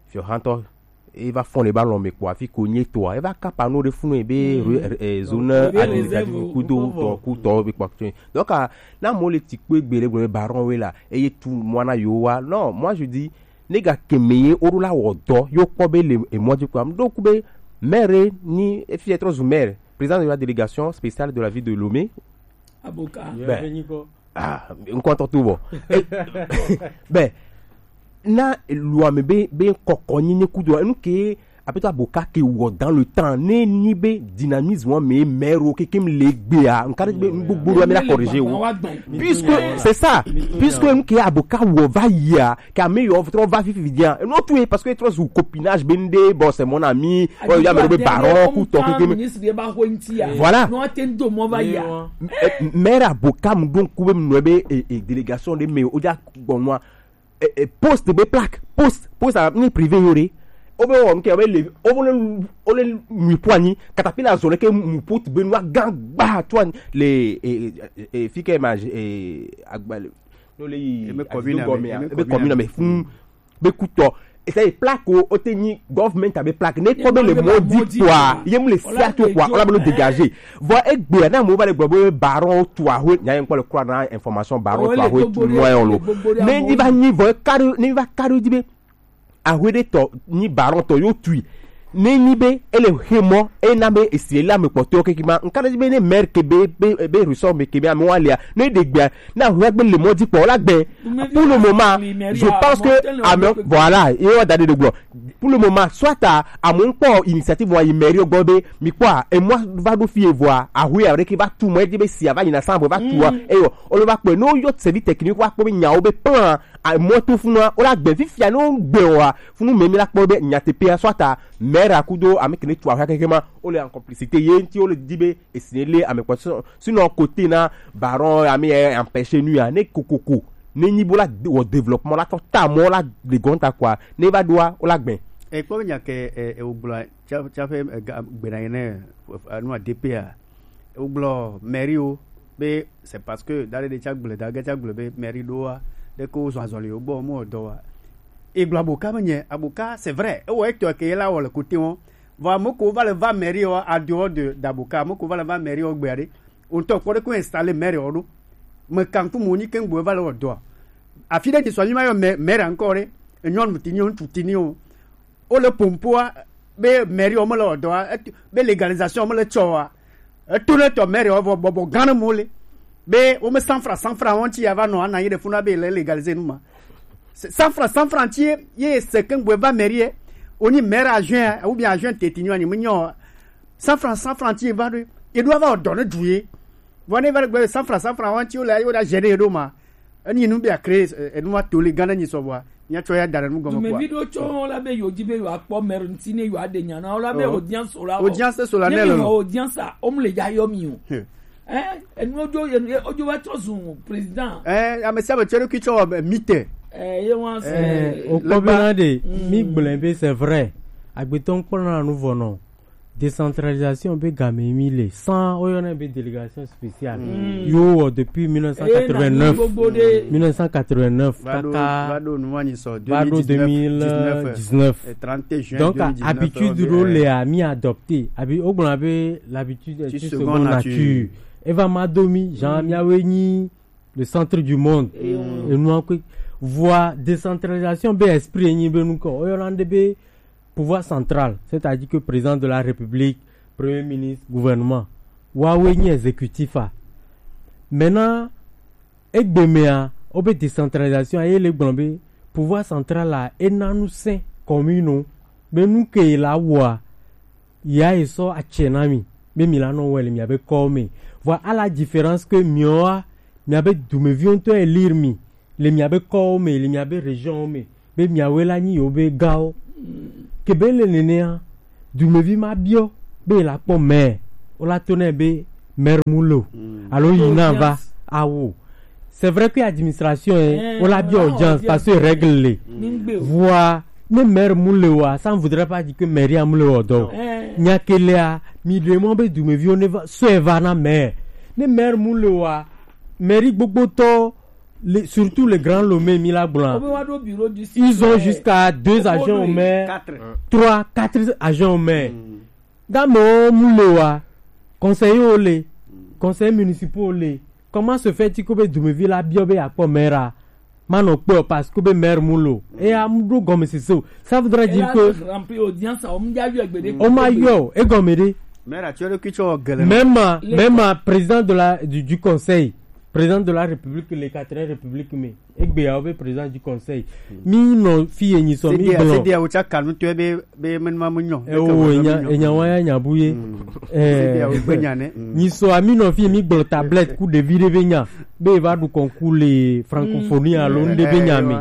fiɔha ŋtɔ e va fɔn le ba lɔn me kpɔ afi ko nye toa, e va kapa no ɖe funu be re-, eh, zone administrative kudo tɔ kutɔ be kpɔ. Donc, ah, na mo le ti kpe gbe le gbe baron we la, eye tu mwana yo wa. Non, moi je dis, ne ga keme ye o la wɔ dɔ, yo kpɔ be le e mɔ di kpɔ. Donc be maire ni e fi être zu maire, président de la délégation spéciale de la ville de Lomé. Aboka. Ben, ah, ŋkɔ tɔ to bɔ. Eh, ben, na luame be, be kɔkɔ nyi ne kudo, enu ke apeto Aboka ke wɔ dans le temps, ne ni be dynamisme me maire o kekem le gbea, nka be gbogbo do me la corriger o. Puisque, c'est ça, puisque enu ke Aboka wɔ va yia, ke ame yo trɔ va fifi dia. No tu e parce que trop zu copinage be nde, bon, c'est mon ami, o ya me be baron ku tɔ kekem. Voilà. No aten do mo va ya. Eh, maire Aboka mu don ku be mu no be, eh, eh, délégation de me o ja gbɔnua. Eh, eh, poste be plaque, poste, poste a ni privé yo re. O be wɔ nke o be le, o be le, o le mi po ani, katapila zɔ le ke mu poste be nua gan gba to ani le, eh, eh, eh, fi ke ma, eh, agba le, no le yi. E be commune ame, e be commune ame fun be kutɔ. Ese plaque o, o te nyi government a be plaque. Ne kpɔ be le mɔ di kpɔa, ye mu le sia to kpɔa, o la be no dégager. Vɔ egbe na mo va le gbɔ be baron tu ahwe, nya ye kpɔ le kura na information baron tu ahwe tu mo yo lo. Ne ni va nyi vɔ kari, ne va kari di be ahwe de tɔ nyi baron tɔ yo tui. Ne nyi be ele he mɔ, e na be esi le ame kpɔtɔ keke ma, nka di be ne maire ke be, be, be ressort me ke be ame wa lia, ne de gbea, na ahwe gbe le mɔ di kpɔ la gbe. Pour le moment, je pense que ame, voilà, e wa da de gblɔ. Pour le moment, soit à, à mon kpɔ initiative wa yi mairie gbɔ be mi kpɔ a, e mɔ va ɖo fie vɔa, ahwe a ɖeke va tu mɔ, e di be si a va yina san va tu a, e yo, o le va kpɔ, no yo service technique wa kpɔ be nyawo be plan a mɔ to funua, o la gbe fifia no gbe wa, funu me mi la kpɔ be nyateƒea, soit à, maire a kudo ame kene tu ahwe keke ma, o le en complicité ye nti, o le di be esi le ame kpɔ. Sinon, côté na baron, ami e empêcher nu ya, ne kokoko, ne nyi bo la de-, wɔ développement la tɔ ta mɔ la de gonta quoi, ne va doa o la gbɛ. E kpɔ be nya ke, e, e, o gblɔ, tsa, tsa ƒe, e, ga-, gbena yi ne, e, nu a D P a. O gblɔ mairie o, be c'est parce que da ɖe ɖe tsa gblɔ, da ge tsa gblɔ be mairie ɖoa, ɖe ko zɔ azɔli o gbɔ mo dɔ wa. E gblɔ Aboka me nye, Aboka, c'est vrai, e wɔ etɔ ke la wɔ le côté wo. Vɔ ame ko va le va mairie o, a dehors de, d'Aboka, ame ko va le va mairie o gbea ɖe. O ŋutɔ kpɔ ɖe ko installer maire o ɖo. Me kan ku mo ni ke ŋgbo va le wɔ dɔa. Afi ɖe ni sɔ mi ma yɔ ma-, maire encore ɖe. Enyɔnu tini o, ŋutsu tini o. O le pompoa, be mairie o me le wɔ dɔa, et-, be légalisation me le tsɔa. Eto ne tɔ maire o vɔ bɔbɔ gã ne mo le. Be wo me cent francs, cent francs wo ŋuti ya va nɔ ana yi ɖe funa be le légaliser nu ma. Cent francs, cent francs ti ye, ye se ke ŋgbe va mairie. Oni maire adjoint, ou bien adjoint teti nyo ani me nyo. Cent francs, cent francs ti ye va ɖo. E ɖo va dɔ ne du ye. Vɔ ne va gbe cent francs, cent francs wa ti o la, yo da gêner ɖo ma. Eni nu be a créer, eh, enu wa to le gã ne nyi sɔ vɔa. Nya tsɔ ya da nu gɔme. Dumevi ɖo tsɔ la be yo di be yo akpɔ maire ŋuti ne yo aɖe nya na o la be audience o la. Audience so la ne le. Audience a, o mu le ya yɔ mi o. Eh, enu ojo, enu ojo va tsɔ zu président. Eh, ame sia ame tsɔ ɖokui tsɔ wɔ be mite. Eh, ye wa se. Eh, o kpɔ be na de, mi gblẽ be c'est vrai. Agbetɔ ŋkpɔ na nu vɔ nɔ. Décentralisation be game mi le. Sans o yɔ na be délégation spéciale. Yo wɔ depuis mille neuf cent quatre-vingt-neuf. Mille neuf cent quatre-vingt-neuf. Kaka va ɖo nu wa ni sɔ va ɖo deux mille dix-neuf. Deux mille dix-neuf. Et trente juin deux mille dix-neuf. Donc, habitude ɖo le a mi adopter. Abi, o gblɔ be l'habitude est une seconde nature. Eva ma do mi, genre, mi awe nyi le centre du monde. Enua kpe. Vɔa décentralisation be esprit enyi be nukɔ, oyɔna nde be pouvoir central, c'est-à-dire que président de la République, premier ministre, gouvernement, wawe nyi exécutif a. Maintenant, egbe mea, obe décentralisation a ye le gblɔ be pouvoir central a ena nu sɛn commune be nu ke la wɔa, ya ye sɔ atsɛ na mi be mi la nɔ wɛ le mia be kɔ me. Vɔa, à la différence que miɔa, mia be dumeviwo ŋutɔ élire mi le mia be kɔwo me, le mia be région me, be miawoe la nyi yewo be gawo. Ke be le nenea, dumevi ma biɔ be la kpɔ maire, o la to nɛ be maire mu le o, alo yi na va awo. C'est vrai que administration est, on l'a bien audience parce que règle le. Voa, ne maire mu le wa, ça ne voudrait pas dire que maire a mu le wa donc. Nya ke lea, mi demande be dumeviwo ne va, so va na maire. Ne maire mu le wa, maire gbogbo tɔ, les- surtout les grands Lomé mi la gblɔ. Ils ont jusqu'à deux agents au maire, trois, quatre agents au maire. Ga me mu le wa, conseiller o le, conseiller municipal o le. Comment se fait-il que be dumevi la biɔ be akpɔ maire a? Ma nɔ kpɔ parce que be maire mu lo. Et a mu do gɔme sese o. Ça voudrait dire que rempli audience, on m'a eu avec Bédé. On m'a eu, et gɔme de. Maire actuel qui tu as gueulé. Même, même président de la, du, du conseil, président de la République, les quatre républiques, mais egbe ya be président du conseil. Mi nɔ fi ye nyi sɔ mi gblɔ. C'est bien, c'est bien, o cha kanu to be be menma mu nyɔ. E o enya enya wa ya nya bu ye. Eh, nyi sɔ ami nɔ fi mi gblɔ tablette ku ɖevi ɖe be nya be va ɖu concours le francophonie alo ŋɖe be nya me.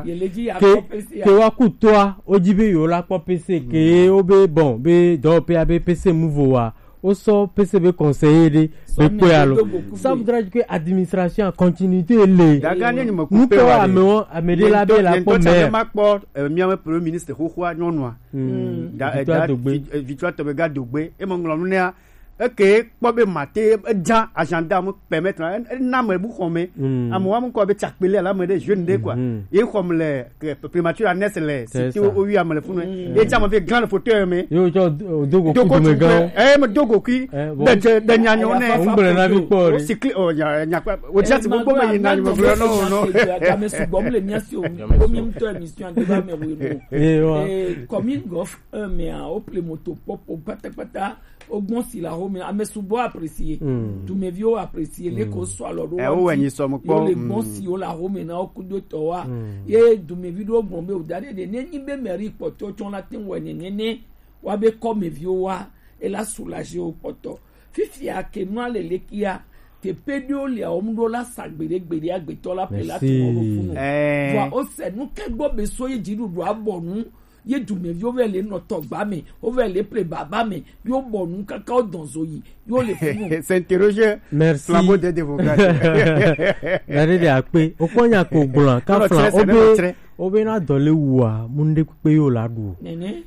Ke ke wa ku toa, o dzi be yo la kpɔ P C ke o be bon be dɔwɔƒea be P C mu vo wa. O sɔ P C be conseiller ɖe be kpɔe alo. Ça voudrait dire que administration a continuité le. Daga ne ni me ku pe wa. Ŋutɔ amewo ame ɖe la be la kpɔ maire. Ma kpɔ miawe premier ministre xoxoa nyɔnua. Victoire Dogbe. Victoire Tɔbega Dogbe. E me ŋlɔ nu nea. Eke kpɔ be mate edza agenda mu permettre na ena me bu xɔme. Ame wa mu kɔ be tsakpele la me ɖe jeune ɖe quoi. Ye xɔm le primature annexe le siti o wi ame le funu. Ye tsa me fi grand fauteuil me. Yo tsɔ dogo kui dome gan. Eh, me dogo kui. De de nyanyo ne. Ngble na bi kpɔ re. Sikli o nya nya kwa. O tsa ti gbogbo me yi na ni me gblɔ no no. Game sugbɔ mu le mia si o. Komi ŋutɔ émission de ba me wo no. Eh, commune gof un me a o ple moto popo patapata. Ogbɔn si la home ame sugbɔ apprécier. Dumeviwo apprécier le ko sɔ alɔ ɖo. Ewo wɛ nyi sɔ mu kpɔ. Yo le gbɔn si wo la home na wo kudo tɔ wa. Ye dumevi ɖo gbɔn be o da ɖe ɖe ne nyi be mairie kpɔtɔ tsɔ la te wɔ ne ne ne wa be kɔmeviwo wa e la soulager wo kpɔtɔ. Fifia ke nua le lekia te pe ɖo le awo mu ɖo la sa gbeɖe gbeɖe agbetɔ la pe la tu wo ɖo funu. Vɔ o se nu ke gbɔ be so ye dziɖuɖu abɔ nu. Ye dumeviwo vɛ le nɔ tɔgba me, wo vɛ le ple baba me, yo bɔ nu kaka wo dɔn zo yi, yo le funu. S'interroger. Merci. Flambeau des démocrates. Nare de akpe. O kpɔ nya ko gblɔ. Ka flan o be o be na dɔ le wua mu nde kpe yo la du. Nene.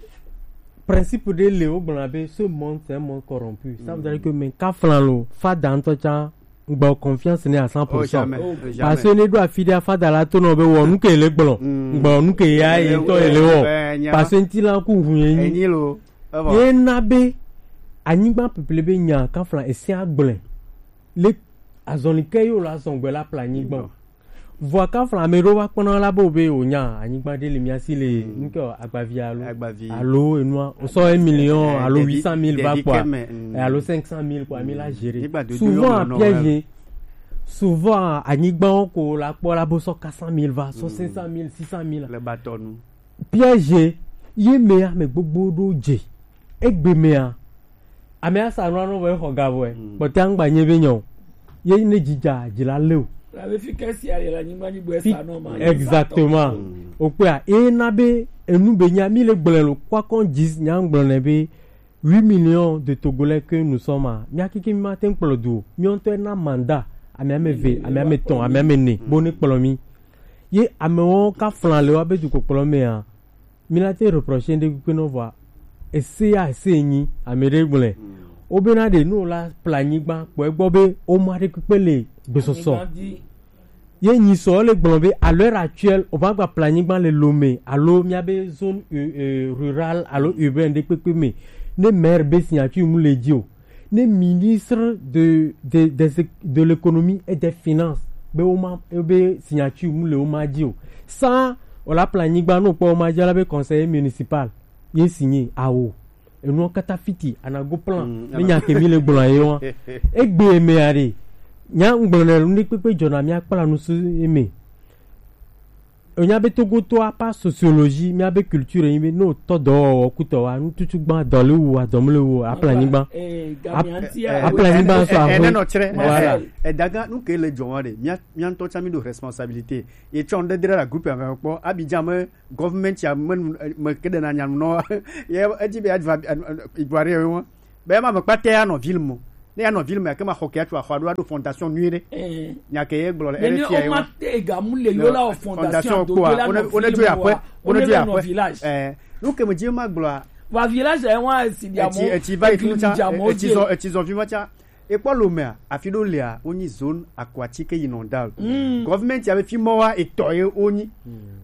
Principe de le o gblɔ be ce monde c'est un monde corrompu. Ça veut dire que mais ka flan lo fa dantɔ tsa Ngba confiance ne à cent pour cent. Parce que ne do afi ɖe afa da la to nɔ be wɔ nu ke le gblɔ. Ngba nu ke ya ye tɔ ye le wɔ. Parce que ŋti la ku hu ye nyi. Ye na be anyigba pepele be nya kafla ese agblẽ. Le azɔli ke yo la zɔn gbe la pla anyigba. Vɔa kafla ame ɖewo va kpɔna la be wobe wonya anyigba ɖe le mía si le nuke o, agbavi alo agbavi alo enua wosɔ un million alo huit cent mille va kpɔa alo cinq cent mille kpɔa mi la gérer. Souvent piège, souvent anyigbawo ko la kpɔ la bo sɔ quatre cent mille va, sɔ cinq cent mille, six cent mille le batɔ nu. Piège ye me ame gbogbo ɖo dze egbe mea. Ame asa nua nɔ vɔ exɔ ga vɔe. Kpɔtɛ angba nye be nyɔ. Ye ne dzidza dzi la le o. La be fi ke sia ye la nyigba nyigba esa nɔ ma. Exactement. O kpea e na be enu be nya mi le gblẽ lo kwa kon dzi nya gblɔ ne be huit millions de Togolais que nous sommes a. Mia kiki mi ma te kplɔ du o. Mi ŋutɔ na mandat ame ame ve, ame ame tɔn, ame ame ne bo ne kplɔ mi. Ye amewo ka flan le wa be du kpɔkplɔ mea. Mi la te reprocher ŋɖe kpekpe nɔ vɔa ese ya ese nyi ame ɖe gblẽ. Wo be na ɖe nu la pla anyigba kpɔ egbɔ be wo ma ɖe kpekpe le gbesɔsɔ. Ye nyi sɔ le gblɔ be à l'heure actuelle o va gba pla anyigba le Lomé alo mía be zone euh, euh, rurale alo urbaine ɖe kpekpe me ne maire be signature mu le dzi o. Ne ministre de, de, de, de l'économie et des finances be wo ma, be signature mu le wo ma dzi o. Sans o la plan nyigba no kpɔ wo ma dzi la be conseiller municipal ye signé awo. Enua kata fiti anago plan. Mm, me nya ke mi le gblɔ ye wa. Egbe me are. Nya ngblɔ ne lu ne kpekpe dzɔna mi akpla nu su eme. Enya be Togo to apa sociologie, mi abe culture yi be no tɔ dɔ kutɔ wa, nu tutu gba dɔ le wu, adɔm le wu, apla nyigba. Apla nyigba so aho. Ene no chere. Voilà. E daga nu ke le dzɔ wa de. Mi mi ntɔ cha mi do responsabilité. Ye chon de dra la groupe avec kpɔ. Abidjan me government ya me me ke de na nya no. Ye e di be adva igware yo. Be ma me kpate ya no ville mo. Ne ya no ville mo ya ke ma ho ke ya tu a ho do fondation nuire. Nya ke ye gblɔ le. Ene ti ya yo. Te ga mu le yo la o fondation do la no. One jo ya pe. One jo ya pe. Eh. Nu ke me di ma gblɔ. Wa village e wa si dia mo. Eti eti va iku cha. Eti zo eti zo vi ma cha. Ekpɔ lomea, afi ɖewo lia, wonyi zone aquatique inondable. Gɔvmɛnti ya be fi mɔ wa etɔ ye wonyi.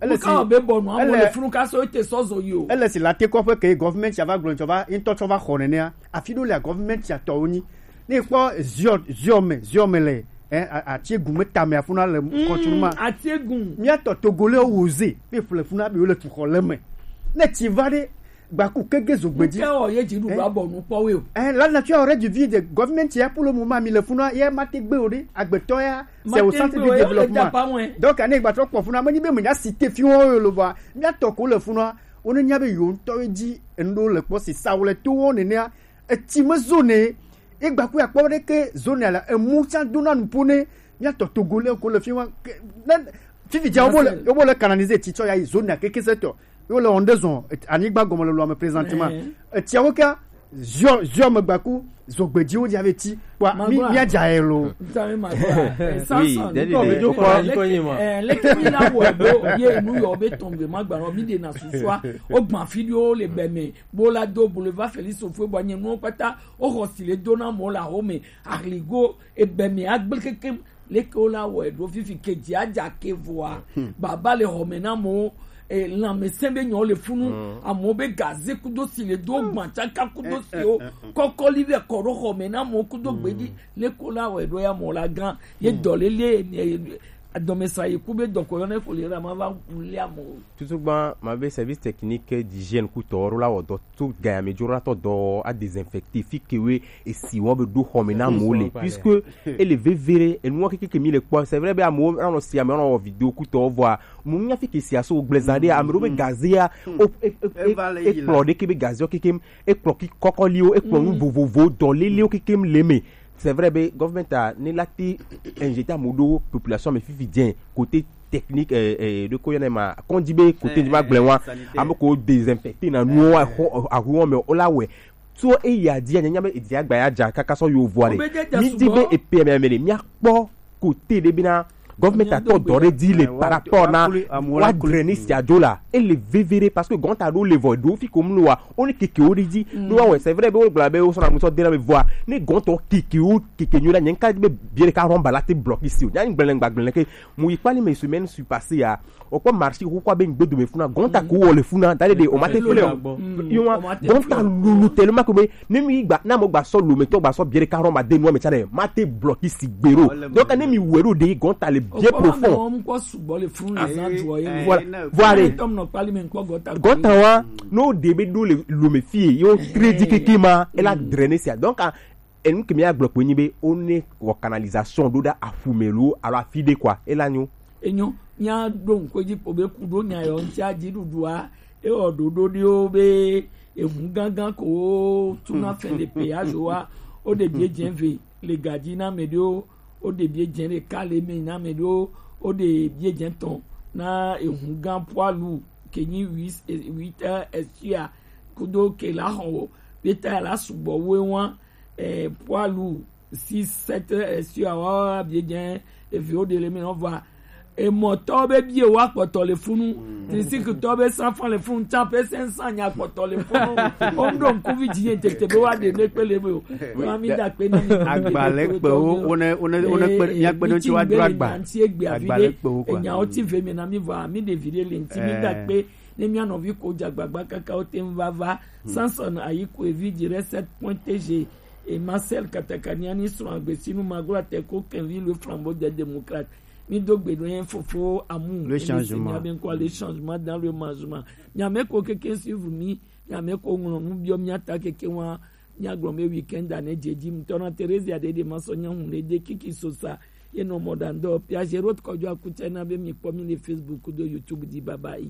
Ele si be bɔnu amewo le funu ka sɔ ete sɔ zɔ yi o. Ele si la te kɔƒe ke gɔvmɛnti ya va gblɔ tsɔ va ŋutɔ tsɔ va xɔ nenea. Afi ɖewo lia gɔvmɛnti ya tɔ wonyi. Ne kpɔ ziɔ ziɔ me ziɔ me le eh ati egu me tame afuna le kɔtsu ma. Ati egu. Mia tɔ togole wo ze be fle funa be wo le tu xɔ le me. Ne ti va ɖe Gbaku kege zo gbedzi. Ke o ye dzi ɖuɖu abɔ nu kpɔ we o. Eh, la nature aurait dû vide. Government ya pour le moment mi le funa ye ma te gbe o de. Agbetɔ ya, c'est au centre du développement. Donc ane gbatɔ kpɔ funa me ni be me nya cité fi wo yo lo ba. Mi atɔ ko le funa. O ne nya be yo ntɔ ye dzi ndo le kpɔ si sa wo le to wo ne ne a. Eti me zone. E gbaku ya kpɔ de ke zone la emu tsa do na nu pone. Mi atɔ togo le ko le fi wa. Fifi dza wo le, wo le canaliser ti tsɔ ya yi zone keke se tɔ. Yo le wɔm ɖe zɔ anyigba gɔme le lɔme présentement. Etsiawo ka ziɔ ziɔ megbaku zogbedziwo dzi ave ti kpɔa mi mia dza yɛ lo. Leke mi la wɔ do ye nu yɔ be tɔngbe ma gba nɔ mi de na susua o gba fi ɖewo le bɛ me bo la do boulevard Félix Houphouët bɔ nye nuwo kpata o xɔ si le do na mɔ la ho me ahligo ebe me agble kekem. Leke wo la wɔe ɖo fifi ke dzi adza ke vɔa baba le xɔme na amewo. Lãmesẽ be nyɔ le funu amewo be gaze kudo si le do gbatsaka kudo siwo kɔkɔli be kɔ ɖo xɔme na amewo kudo gbedzi. Leke wo la wɔe ɖo ya mɔ la gã ye dɔlele adɔmesa yi ku be dɔkɔ yɔ ne ko le ra ma va wu le amewo. Tutu gba ma be service technique d'hygiène ku tɔ ro la wɔ dɔ to gaya me jora tɔ dɔ a désinfecter fi ke we esi wɔ be ɖo xɔme na amewo le puisque ele vevere enuwo keke ke mi le kpɔ c'est vrai be amewo anɔ si amewo anɔ wɔ video kutɔ vɔa mo nya fi ke si aso gbleza ɖe ame ɖewo be gazea ekplɔ ɖeke be gazea kekem ekplɔ kɔkɔliwo ekplɔ nu vovovowo dɔlelewo kekem le me c'est vrai be government a ne la te injecter amewo ɖo population me fifi dze côté technique ɖeko yɔnɛ ma kɔndzi be côté dzi ma gblẽ wa ame ko désinfecter na nuwo ahuwo me o la wɛ so eya dzi anyanya be edzi agba ya dza kaka sɔ yo vɔ ɖe mi di be epe mɛ mɛ ɖe mia kpɔ côté ɖe bi na government atɔ dɔ ɖe dzi le par rapport na wa drainer sia dzo la ele vevere parce que gɔnta ɖo le vɔ ɖo fi ko mu wa o ne keke wo ɖe dzi no wa wɛ c'est vrai be wo gblɔ be wo sɔ na mu sɔ de na me vɔa ne gɔntɔ keke wo keke nyo la nye nka be bie ɖeka rɔmba la te bloquer si o nya gblẽ gba gblẽ ke mu yi kpali me semaine suis passé ya o kpɔ marché xoxo abe ŋgbe dome funa gɔnta ko wɔ le funa da de de o ma te flɛ o yo wa gɔnta lulu tellement que be ne mi gba na mo gba sɔ lome tɔ gba sɔ bie ɖeka rɔmba de nua me tsa ɖe ma te bloquer si gbero donc ne mi wɛ ɖo de gɔnta le bien profond voilà voilà gɔnta wa n'o de be ɖo le lome fie yo très di keke ma e la drainer sia donc enu ke mi agblɔ kpe nyi be o ne wɔ canalisation ɖo ɖa aƒu me lo alo afi ɖe kɔa e la nyo. Enyo mia ɖo ŋkɔ dzi kpo be ku ɖo nya yɔ ŋuti adziɖuɖua ewɔ ɖoɖo ɖewo be eʋu gãgã ko wo tuna fɛn le pe azo wa wo ɖe bie dze ve le gadzi na ame ɖewo wo ɖe bie dze ɖeka le me na ame ɖewo wo ɖe bie dze tɔn na eʋu gã poilu ke nyi huit huit heures esua kudo ke la xɔ wo be ta la sugbɔ wo wa eh, poilu six sept heures esua wa bie dze eviwo ɖe le me nɔ va emɔtɔ be bie wa kpɔtɔ le funu tisikitɔ be sanfan le funu tsa pe sɛnsan nya kpɔtɔ le funu o ŋɖo ŋkuvi dzi nye tete be wa ɖe ne kpe le me o wa mi da kpe na mi agbalẽ kpewo wone wone wone kpe mia kpe ɖo tsi wa dro agba agbalẽ kpewo kɔ enyawo ti ve mi na mi va mi ɖevi ɖe le ŋti mi da kpe ne mia nɔvi ko dze agbagba kaka wo te ŋu va va Samson Ayiko evi dzi ɖe sept point T G et Marcel Katakaniani srɔ̃ agbesinu maglo ateko kenvi le flambeau des démocrates Mi do gbe ɖo yẹn fofo amu. Le changement. Bien quoi, le changement dans le management. Nyame ko keke suivre mi. Nyame ko ŋlɔ nu biɔ mi ata keke wa. Mi agblɔ mi weekend ane jeji. Mutɔ na Teresa de de ma sɔ nya hun de de kiki sosa. Ye no moda ndo. Piaje road kɔjɔ akutsɛ na be mi kpɔ mi le Facebook do YouTube di bye bye.